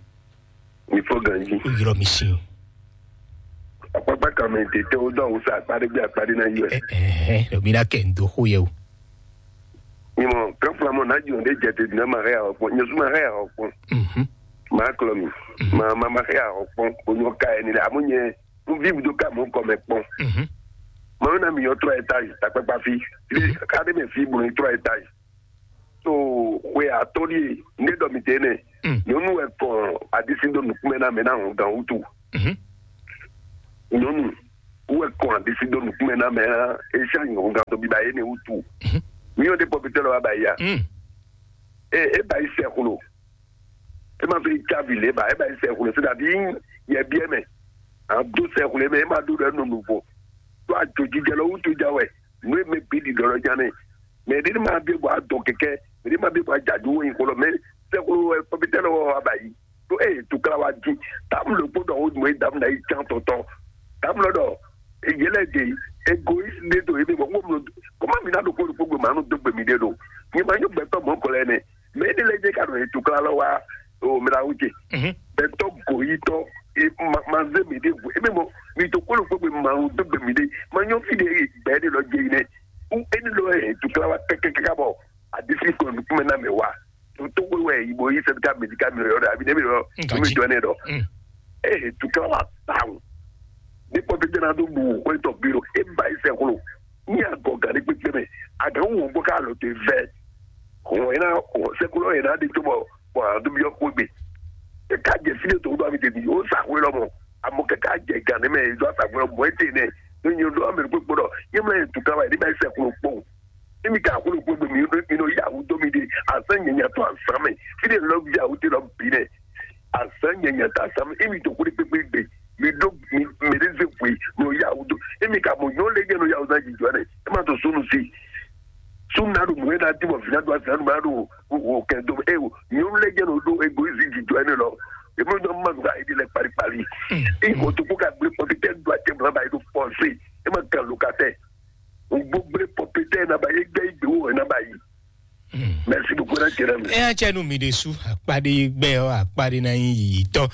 Mi fo ganji. O yɔrɔ mi sin. Akpakpa kan mɛ tete o dɔ wusa akpa ɖe gbe akpa ɖe na yi wɛ. Ɛ ɛ ɛ mi na kɛ n do xo yɛ o. Ni mɔ kan fla mɔ na jɔ ɖe jɛ te dina ma hɛ awɔ kpɔn nyɛ su ma hɛ awɔ kpɔn. Mhm. Ma klɔ mi. Mhm. Ma ma ma hɛ awɔ kpɔn o nyɔ ka ɛni lɛ amu nyɛ n vi do ka mɔ kɔ mɛ kpɔn. Mhm. Ma na mi yɔ trois étages takpakpa fi. Fi ka de mɛ fi bo ni trois étages. So xwe atɔ́ ɖíe ndé ɖɔ mi tɛ nɛ. Mm. Nyɔnu wɛ kɔn adisi ɖo nukúnmɛ na mɛ na hɔn gan wutu. Mhm. Nyɔnu wɛ kɔn adisi ɖo nukúnmɛ na mɛ na esi anyɔ hɔn gan to biba yé ne wutu. Mhm. Mi yɔ de pɔpitɛ lɔ wa ba ya. Mm. E e ba yi sɛ xlo. E ma fi cavi le ba e ba yi sɛ xlo se dabi yɛ biɛ mɛ. A do sɛ xlo mɛ e ma do ɖɔ nɔ nuvo. To ajojijɛ lɔ wutu ja wɛ. Nú e mɛ gbe ɖiɖɔ lɔ ja nɛ. Mɛ ɖé ní ma ɖe bɔ adɔ kɛkɛ, mɛ ɖé ma ɖe bɔ ajadu wo nyi xolɔ mɛ sɛkolo wɛ pɔpitɛ lɔ wɔ aba yi. To e tukla wa di. Tam lo kpo dɔ wo mo e dam na yi can tɔtɔ. Tam lɔ dɔ yɛlɛ de egoist de do ebe bɔ wo mo kɔma mi na do ko ko gbe ma no do gbe mi de do. Ni ma nyo gbɛtɔ mɔ kɔlɛ nɛ. Mɛ ɖé lɛ jɛ ka do e tukla lɔ wa o mi la wo je. Mhm. Gbɛtɔ goyitɔ e ma ma ze mi de gu ebe bɔ mi to ko ko gbe ma no do gbe mi de. Ma nyo fi de gbɛ de lɔ je yi nɛ. U eni lɔ e tukla wa kɛkɛkɛkɛ bɔ adisi kɔ nukume na mɛ wa. Tuntun wɛ yi bo yi sɛbi ka medi ka mi yɔ dɔ abi ne mi yɔ mi dɔ ne dɔ. Ee tukla wa tawu. Ne kpɔ bi dena do bu ko tɔ bi o e ba yi sɛ kolo. Ni agɔ gari kpekpe mɛ a gan wo bɔ ka lɔ te vɛ. Hɔn ena sɛ kolo ena de to bɔ bɔ a do bi yɔ ko gbe. E ka jɛ fi de to do abi de bi o sa ko lɔ mɔ. Amo kɛkɛ a jɛ gan ne mɛ e do a sa ko lɔ mɔ e te nɛ. Ne nyi o do amɛ kpekpe dɔ ye mɛ tukla wa ye de ba yi sɛ kolo kpɔn. Emi ka xwlé xwé gbe mi ɖo mi ɖo yahoo dó mi ɖe azán nyanya tó azán mɛ fi ɖe lɔ yahoo te lɔ bi nɛ azán nyanya tó azán mɛ emi to xwlé kpékpé gbe mi ɖo mi mɛ ɖe ze xwe mi ɖo yahoo dó emi ka mɔ nyɔnu lɛ jɛ nɔ yahoo zan jijɔ nɛ e ma to sunu si sunu na ɖo mɔ e na di bɔ vi na do azán ma ɖo o kɛ do e o nyɔnu lɛ jɛ nɔ ɖo egoizi jijɔ nɛ lɔ Èmi ló ma nù ká èdè lɛ kpalikpali. Ìgò tó kó ká gbé pɔpitɛ do àtẹ mọ náà báyìí ló pɔnsé. Ẹ má kàn ló ká tẹ. Ògbó gbé pɔpitɛ náà báyìí gbẹ ìgbé wò náà báyìí. Merci beaucoup, náà jẹrẹ mi. Ẹ á jẹ́ nu mi ɖe sú àpáɖé gbẹ́ ọ́ àpáɖé náà yín yìí tán.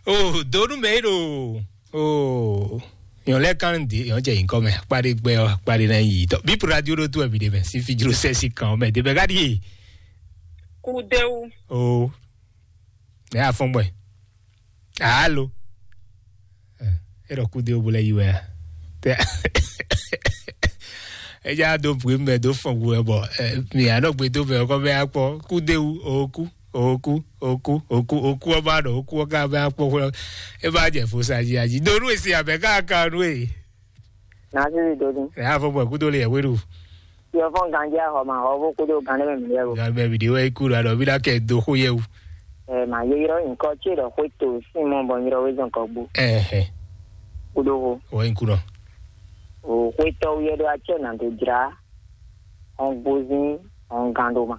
O donu mɛ ɖo o yɔn lɛ kan de yɔn jɛ yinkɔ mɛ àpáɖé gbɛ ɔ àpáɖé náà yìí tɔ bí pura di o ɖo tó ɛbi de mɛ sí fi jiro sɛ sí kan mɛ de bɛ gadi ye. Kudewu. O ne y'a fɔn gbɛ. Alo. E ɖɔ kudewu bo lɛ yi wɛ a. Tɛ e ja do bue mɛ do fɔn gbɛ bɔ mi anɔ gbe do mɛ kɔ bɛ akpɔ kudewu oku oku oku oku oku ɔba ɖɔ oku ɔka bɛ akpɔ xɔ e ba jɛ fo sa ji aji do nu esi abɛ ká ka nu e. Nasiri dodi. Ɛ afɔ bɔ kudo le yɛ weɖu. Yɔ fɔn ganji ahɔ ma hɔ bo kudo gan ne mi yɛ bo. Gan bɛ mi de wɛ iku la dɔ bi da kɛ do xo yɛ wu. Ɛ ma ye yɔrɔ nkɔ tse dɔ xwe to sin mɔ bɔ nyɔrɔ we zɔn kɔ gbo. Ɛhɛ. Kudo ho. Wɔ iku nɔ. O xwe tɔ wu yɛ do atsɛ na do jra. Hɔn gbozin hɔn gan do ma.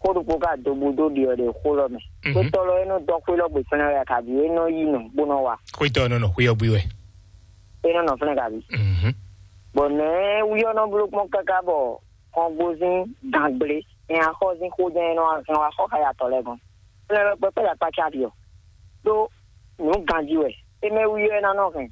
Xó ɖokpó ka do bú dó ɖiɔ ɖe xó lɔ mɛ. Xwétɔ́ lɔ é nɔ dɔ́ xwé lɔ gbe fɛnɛ wɛ kabi é nɔ yi nɔ bó nɔ wa. Xwétɔ́ nɔ nɔ xwé ɔ́ gbé wɛ. É nɔ nɔ fɛnɛ kabi. Bɔ nɛ̌ wí ɔ́ nɔ bló kpɔ́n káká bɔ kɔngbózín gǎngbléhɛn axɔ́zín xójɛ́n é nɔ hɛn wá xɔ xá yatɔ́ lɛ́ɛ gɔ́n? Fɛnɛ lɔ gbɛkpɛ́ ya kpácá ɖi ɔ́, ɖó nǔ ganjí wɛ. É mɛ wí ɔ́ é ná nɔ hɛn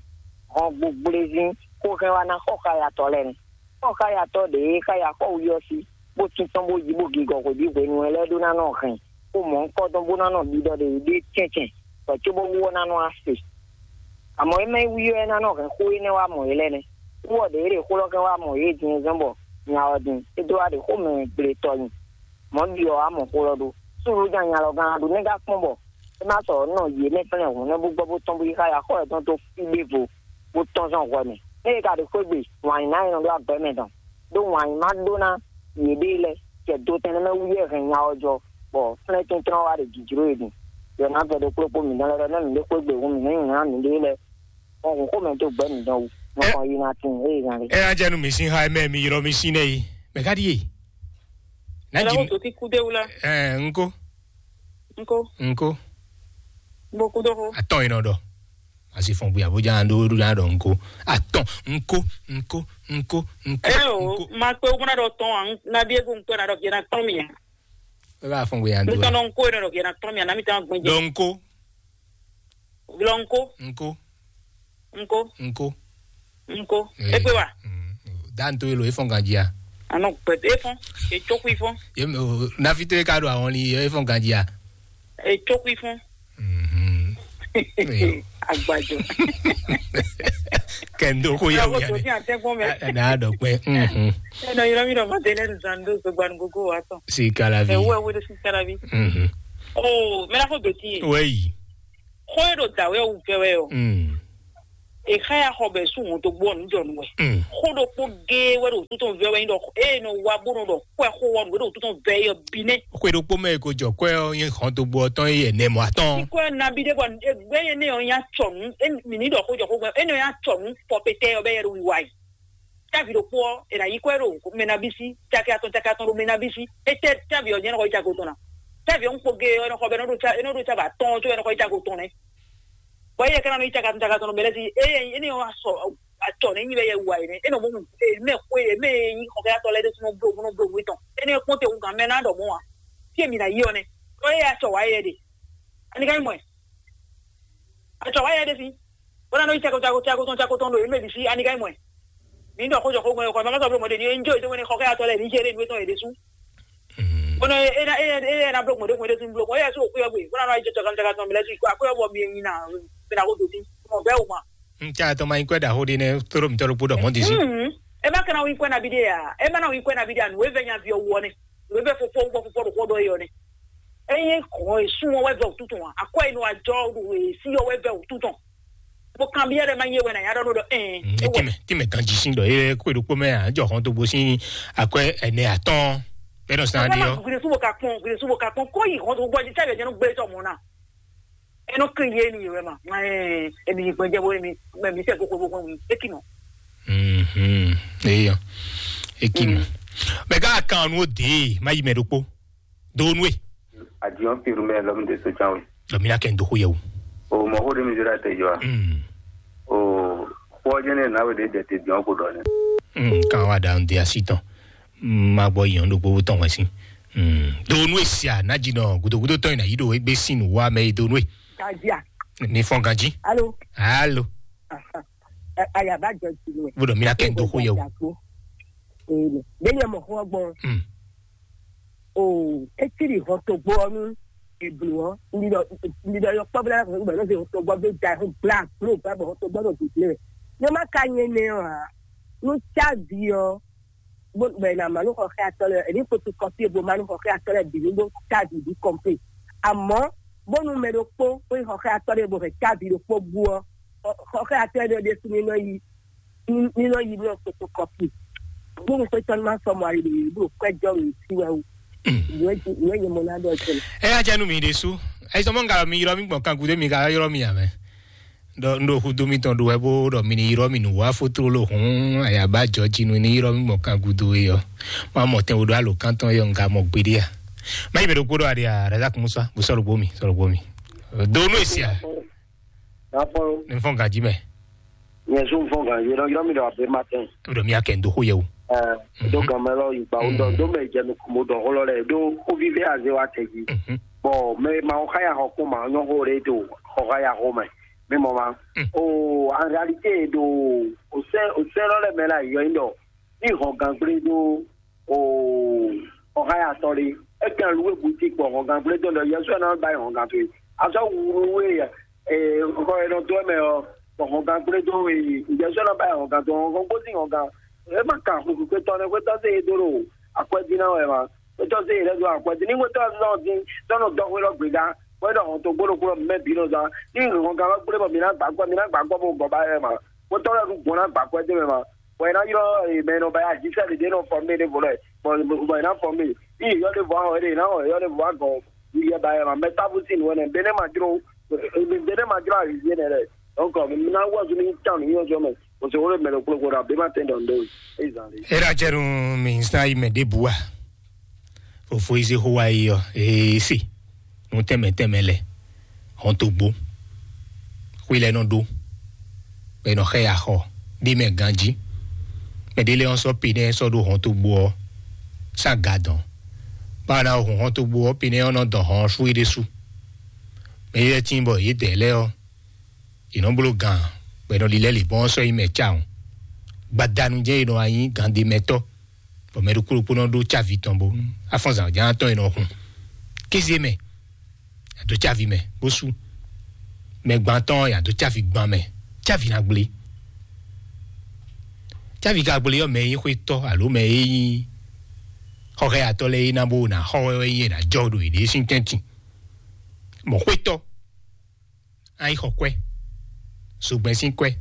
hɔn gbogblezín xó hɛn wá ná xɔ xá yatɔ́ lɛ́ɛ nɛ́. Xɔ xá yatɔ́ ɖě e xá ya xɔ wí ɔ́ sí, bó títɔn bó yí bó gigɔ hwebǐ hwenu ɛ lɛ́ɛ ɖó ná nɔ hɛn xó mɔ̌hunkɔtɔn bó ná nɔ ɖiɖɔ ɖě ɖé cɛ́ncɛ́n, bɔ cóbó wú ɔ́ ná nɔ wá se. Amɔ̌ é mɛ wí ɔ́ é ná nɔ hɛn xó énɛ́ wá mɔ yě lɛ́ɛ nɛ́. Wú ɔ́ ɖě e ɖe xó lɔ́ kɛn wá mɔ yě din é zɔ́n bɔ nya ɔ́ din é dó wá ɖe xó mɛ gble tɔn nyi. Mɔ̌ ɖi ɔ́ wá mɔ xó lɔ ɖó. Súnnu nya nya lɔ gán ɖó nɛ́ gán kpɔ́n bɔ é má sɔ́ nɔ yě mɛ kplɛ́n hǔn nɛ́ bó gbɔ bó tɔ́n bó yi xá ya xɔ yětɔn dó fí ɖěvo bó tɔ́n zɔn hwɛ mɛ. Ée é ka ɖo xwé gbe, wǎn yí ná nyɔ́ ɖó agbɛ́ mɛ dɔn, ɖó wǎn yí má ɖó ná yěɖée lɛ́ɛ. Cɛ do tɛn nɛ́ mɛ wú yɛ hɛn nya ɔ́ jɔ, bɔ flɛ́n tɛ́ntrɔ́n wá ɖe jǐjló e din. Yɔ ná vɛ ɖokpló kpó mǐ nɔ lɛ́ ɖɔ nɛ́ mǐ ɖé xwé gbe hǔn mǐ nɛ́ nyi ná mǐɖée lɛ́ɛ. Hɔn hǔn xó mɛ dó gbɛ̌ mǐ dɔn wú. Nɔ kɔn yi ná tin ée zan lé. Ɛ ajanu mi sin ha mɛ mi yrɔ mi sin nɛ yi. Mɛ ka ɖi ye? Na Ɛlɛ ji wo doti kude wula. Ɛ nko Nko. Nko. Bo kudo ko. Atɔn yi nɔ dɔ. Asi fɔn buya bo jan do do jan dɔ nko. Atɔn nko nko nko nko. Ɛ o, ma pe o mɔna dɔ tɔn an na bi ego nko na dɔ gena tɔn mi. E ba fɔn buya do. Nko no nko no dɔ gena tɔn mi na mi tan gbɛn. Dɔ nko. Glɔ nko. Nko. Nko. Nko. Nko. Egbe wa. Dan to elo efɔn ganji a. Anɔ gbɛdɛ efɔn. Etsɔkui fɔn. Ye me o nafi to e ka do awɔn li efɔn ganji a. Etsɔkui fɔn. Mhm. Agbajɔ. Kɛndo ko ya Ɔwɔ ya. Tó ní àtẹ́gbọ́n mẹ́. Na dɔ pɛ. Mhm. Ẹnà yọrọ mi dọ̀ mọ́ tẹ́lẹ̀ nìkan ló gbogbo àná gbogbo wa tán. Si kalavi. Ẹ̀wọ́ ẹ̀wọ́ ló sì kára bí. Mhm. Oh, mẹ́ta kó bẹ̀tì yẹn. Wẹ́yì. Xó e ɖo dǎwe ɔ́ wú vɛ wɛ ɔ́, Mm. è xá ya xɔ bɔ è sú hɔn dó gbɔ nǔ jɔ nú wɛ. Mm. Xó ɖokpó géé wɛ ɖo wútu tɔn vɛ wɛ nyí ɖɔ ée nɔ wa bó nɔ ɖɔ xó ɛ xó ɔ́ nǔ e ɖo wútu tɔn vɛ é ɔ́ bí nɛ́. Xwe ɖokpó mɛ e ko jɔ kwɛ ɔ́ nyí hɔn dó gbɔ tɔn é ɛnɛ mɔ atɔn. Kí kɔ́ ɛ nabí ɖé bɔ gbɛ́ nyɛ nɛ ɔ́ nyí acɔ nǔ, mǐ ní ɖɔ xó jɔ xó gbɛ, énɛ́ ɔ́ nyí acɔ nǔ fɔ pétɛ́ ɔ́ bɛ yɛ ɖo wiwa yi. Távi ɖokpó ɔ́, è nǎ yí kɔ́ ɛ ɖo mɛnabísí, caki atɔn caki atɔn ɖo mɛnabísí. Étɛ́ távi ɔ́ jɛ́n nɔ xɔ yí cago tɔn ná? Távi ɔ́ ń kpo ge ɔ́, é nɔ xɔ bɛ é nɔ ɖo cá é nɔ ɖo cá bɔ atɔn ɔ́ có é nɔ xɔ yí cago tɔn nɛ́. Bɔ éyɛ́ ka ná nɔ yí caki atɔn caki atɔn ɖo mɛ lɛ́ɛ sí, éyɛ́ é ní ɔ́ sɔ acɔ nɛ́ nyi bɛ yɛ wu ayǐ nɛ́. É nɔ mɔ mɛ xwe mɛ e nyí xɔkɛ́yatɔ́ lɛ́ɛ ɖésú nɔ bló bó nɔ bló nǔ tɔn. Énɛ́ ɔ́ kpɔ́n te hǔn gǎn mɛ ná ɖɔ mɔ̌ ǎ. Fí e mi ná yí ɔ́ nɛ́. Ɖó éyɛ́ acɔ wǎ yɛ ɖe. Ani ka nyí mɔ̌ ɛ? Acɔ wǎ yɛ ɖe fí. Bó ná nɔ yí cako cako cako tɔn cako tɔn ɖo yě mɛ bǐ sí, ani ka nyí mɔ̌ ɛ? Mǐ ɖɔ xó jɔ xó gbɔn yɔkɔ, mɛ ma sɔ́ bló mɔɖé ní é ń jó yě dó wɛnɛ xɔ xá atɔ lɛ́ɛ ní jɛ ɖé nǔ étɔn yě ɖésú. Bó ná é ná é ná é ná bló gbɔn ɖé gbɔn ɖé tún bló gbɔn, éyɛ́ sún òkú yɔ gbe, bó ná nɔ ayé jɛ cɔkan caka tɔn mi lɛ́ sí, akó yɔ bɔ mi nyi na, mi ná kó dó dín, mɔ bɛ́ wò ma. N ca tɔn ma nyí kwɛ ɖaxó ɖé nɛ́, tóɖó mǐtɔn ɖokpó ɖɔ mɔ̌ ɖésú. Ɛ má ka ná wí kwɛ nabí ɖé a? Ɛ má ná wí kwɛ nabí ɖé a? Nǔ e vɛ nyaví ɔ́ wú ɔ́ nɛ́. Nǔ e vɛ fofó wú bɔ fofó ɖo xó ɖɔ é ɔ́ nɛ́. Ényí hɔn e sú ɔ́ wɛ vɛ wǔtútù ǎ, akwɛ́ e nɔ wá jɔ ɖo e sí ɔ́ wɛ vɛ wǔtútù. Bó kanbyɔ́ ɖɔ má nyí é wɛ nǎ nyá ɖɔ nú ɖɔ ɛn. Ní tìmɛ tìmɛ ganjí sín ɖɔ é kó ɖokpó mɛ ǎ jɔ hɔn dó gbó sín akwɛ́ ɛnɛ atɔ́ɔ́n. Bɛ́ nɔ sán ɖé ɔ́. Gúdé súbò ka kpɔn gúdé súbò ka kpɔn kó yi hɔn dó gbɔ jí sábẹ́ jẹ́ nú gbé tɔmɔ náà. Eno kiri ye ni yewe ma. Emi gbɛjɛ bo emi emi sɛ koko bo kɔn eki nɔ. Mhm. Eya. Eki nɔ. Mɛ ka kan nu de ma yi mɛ ɖokpo. Do nu e. Adiɔn piru mɛ lɔm de so chanwe. Ɖɔ mi ná kɛ n dó xó yɛ o. O mɔ xó ɖé mi zé ɖa tɛ yɔ a? Mm. O xó ɔ́ jẹ́ ní ẹ̀ náwó ɖé dɛ te dìɔn kó ɖɔ nɛ. Mm, kan wa ɖa n de asi tɔn. Mm, ma gbɔ yɔn ɖo gbogbo tɔn wɛn si. Mm. Do nu e sia na dzi nɔ gudogudo tɔn yi na yi ɖo egbe sin nu wa mɛ yi do nu e. Kajia. Ni fɔn ganji. Alo. Alo. Aha. Ɛ, ayaba jɔ ti nu. Bo ɖɔ mi ná kɛ n dó xó yɛ o. Ee, ɖe nyɛ mɔ xó ɔ́ gbɔn. Mm. O, etiri hɔn togbo ɔ́ nú eblo ɔ́, ndi ɖɔ, ndi ɖɔ yɔ kpɔ́ bla ko gbɛ nɔ se hɔn togbo be da ho bla blo ba bɔ hɔn togbo nɔ dudle. Ne ma ka nye ne ɔ́ a, nu tsa vi ɔ́, bo gbɛ na ma nu xɔxɛ atɔ lɛ, eni photocopie bo ma nu xɔxɛ atɔ lɛ bi nu bo tsa vi bi kɔmpe. Amɔ bonu mɛ ɖokpó, bo yi xɔxɛ atɔ ɖe bo hɛ tsa vi ɖokpó bu ɔ́, xɔxɛ atɔ ɖe ɖe su ni nɔ yi, ni nɔ yi nɔ photocopie. Bonu xwetɔ ni ma sɔ mɔ ali ɖe bo kwɛ jɔ mi si wɛ o. Nue nue ye mo na ɖɔ jɛ. Ɛ ya jɛ nu mi ɖe su. Ɛ sɔ mɔ ngalɔ mi yrɔ mi gbɔn kan gudo mi ka yrɔ mi amɛ. Ɖɔ n ɖo xudó mitɔn ɖo wɛ bó ɖɔ mi ní yrɔ mi nǔ wá fótló hǔn ayaba jɔ jí nú ní yrɔ mi gbɔn kan gudo e ɔ. Ma mɔ tɛn wo ɖo alo kántɔn yɔ nga mɔ gbeɖé a. Ma yi mɛ ɖokpó ɖɔ aɖe a razak musa bó sɔlɔ gbó mi sɔlɔ gbó mi. Do nú esi a. Nafɔlɔ. Ní fɔn gají mɛ. Nyɛ zun fɔn gan yɔ yɔ mi ɖɔ abe ma tɛn. Ɖɔ mi akɛ ndo xó yɛ o. Ɛ do gan mɛ lɔ yi gba o dɔ do mɛ jɛ mi kò mo dɔ xó lɔ lɛ do xó vivi aze wa tɛ jí. Bɔn mɛ ma wo xaya xɔ kó ma nyɔ xó ɖe do xɔ xaya xó mɛ. Mi mɔ ma. O en réalité do o sɛ o sɛ lɔ lɛ mɛ la yɔ yi dɔ. Ní hɔn gan gblé dó o ɔhayatɔ ɖé. Eke aluwe buti kpɔ hɔngan gblé dó lɛ yɛsɔ ɛ náà ba yi hɔngan to yi. Azɔ wulu we ɛ xɔ ɛ nɔ dó ɛmɛ ɔ bɔ hɔngan gblé dó yi yɛsɔ ɛ náà ba yi hɔngan to hɔngan gbósí hɔngan. Ɛ má ka xwekwe tɔ nɛ xwetɔ se yi dó ɖo akwɛdí ná wɛ ma. Xwetɔ se yi lɛ dó akwɛdí ní xwetɔ náà dín tɔnɔ dɔxwé lɔ gbéga. Wɛ ɖɔ hɔn to gbóɖo kúrò mɛ bí nɔ zán ní hɔngan lɔ gblé bɔ mi ná gbà gbɔ mi ná gbà gbɔ bó gɔ ba yɛ ma. Xwetɔ lɛ ɖu gbɔn ná gbà kwɛdí mɛ ma. Bɔ ɛ ná ylɔ́ mɛ nɔ ba ya jí sɛ́ ɖě nɔ fɔ mɛ ɖé vo lɛ bɔ bɔ ɛ ná fɔ mɛ. Ní yɔ ɖé vɔ ahɔ ɖé ná yɔ ɖé vɔ agɔ yɛ ba yɛ ma mɛ tábú sí nǔwɛ nɛ bɛ ne ma jró bɛ ne ma jró ayi yé nɛ lɛ. Donc mi ná wɔ zumi tán ní yɔ zɔ mɛ kò sí wọlé mɛ lɛ kplɔkplɔ ɖo abema tɛn dɔn dɔn. Ezan de. Era jẹnu mi nsa yi mɛ ɖé bu wa. Fofo yi se xó wa yi ɔ ee se nu tɛmɛ tɛmɛ lɛ hɔntogbo xwi lɛ nɔ ɖó bɛ nɔ xɛ ya xɔ ɖi mɛ ganji mɛ ɖi lɛ ɔn sɔ pe nɛ sɔ ɖo hɔntogbo ɔ sa ga dɔn ba na hun hɔntogbo ɔ pe nɛ ɔn nɔ dɔn hɔn fú yi ɖe su mɛ yi lɛ tin bɔ yi dɛ lɛ ɔ yi nɔ blo gan bɛ nɔ li lɛ li bɔn sɔ yi mɛ ca o gbadanu jɛ yi nɔ anyi gande mɛtɔ bɔ mɛ ɖokpó ɖokpó nɔ ɖó cávi tɔn bó afɔnzan ján tɔn yi nɔ hun kéze mɛ yàtọ̀ cávi mɛ bó sú mɛ gbantɔn yàtọ̀ cávi gban mɛ cávi na gblé cávi ka gblé yɔ mɛ yi xwé tɔ alo mɛ yi xɔxɛ atɔ lɛ yi na bó na xɔ wɛ yi na jɔ ɖo yi ɖe sín tɛntin mɔ xwé tɔ ayi xɔ kwɛ zogbɛn sín kwɛ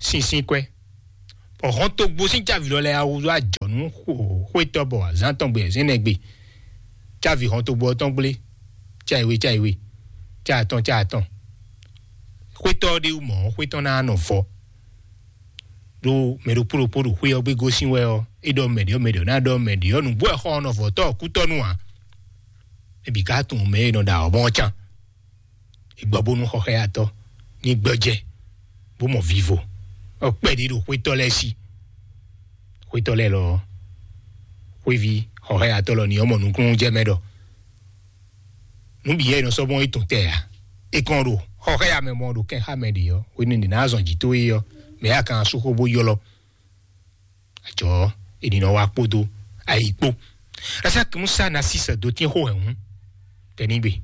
sín sín kwɛ bɔ hɔntogbo sín cávi lɔ lɛ awu wá jɔ nú xwétɔ bɔ azán tɔn gbe ɛzɛn nɛ gbe cávi hɔntogbo ɔ́ tɔn gblé cáiwé cáiwé cáatɔn cáatɔn xwétɔ ɔ́ ɖé wú mɔ̌ xwétɔ ná nɔ vɔ ɖó mɛ ɖokpó ɖokpó ɖo xwé ɔ́ gbé gosín wɛ ɔ́ é ɖɔ mɛ ɖě ɔ́ mɛ ɖě ɔ́ ná ɖɔ mɛ ɖě ɔ́ nǔgbó ɛ xɔ ɔ́ nɔ vɔ tɔ́ ɔ́ kútɔ́ nú ǎ. Ebi ka tunwun mɛ e nɔ ɖa ɔ́ mɔ can. Egbɔ bónú xɔxɛyatɔ ní gbɔjɛ bó mɔ vivo ɔkpɛ ɖi ɖo xwétɔ lɛ́ɛ sí. Xwétɔ lɛ́ɛ lɔ xwévi xɔxɛyatɔ lɔ ní ɔmɔ nukúnnú jɛ mɛ ɖɔ nǔ bǐ yɛ nɔ sɔ́ mɔ étɔn tɛ ǎ. É kɔn ɖo xɔxɛya mɛ mɔ ɖo kɛn xá mɛ ɖě ɔ́ hwenu ɖě ná zɔn jǐ tó é ɔ́ mɛ yá kan sú xó bó ylɔ́. Ajɔ ènìyàn wa kpódó ayǐ kpó. Rasaki musa na sísè dó tín xó hɛn hǔn tɛnígbe.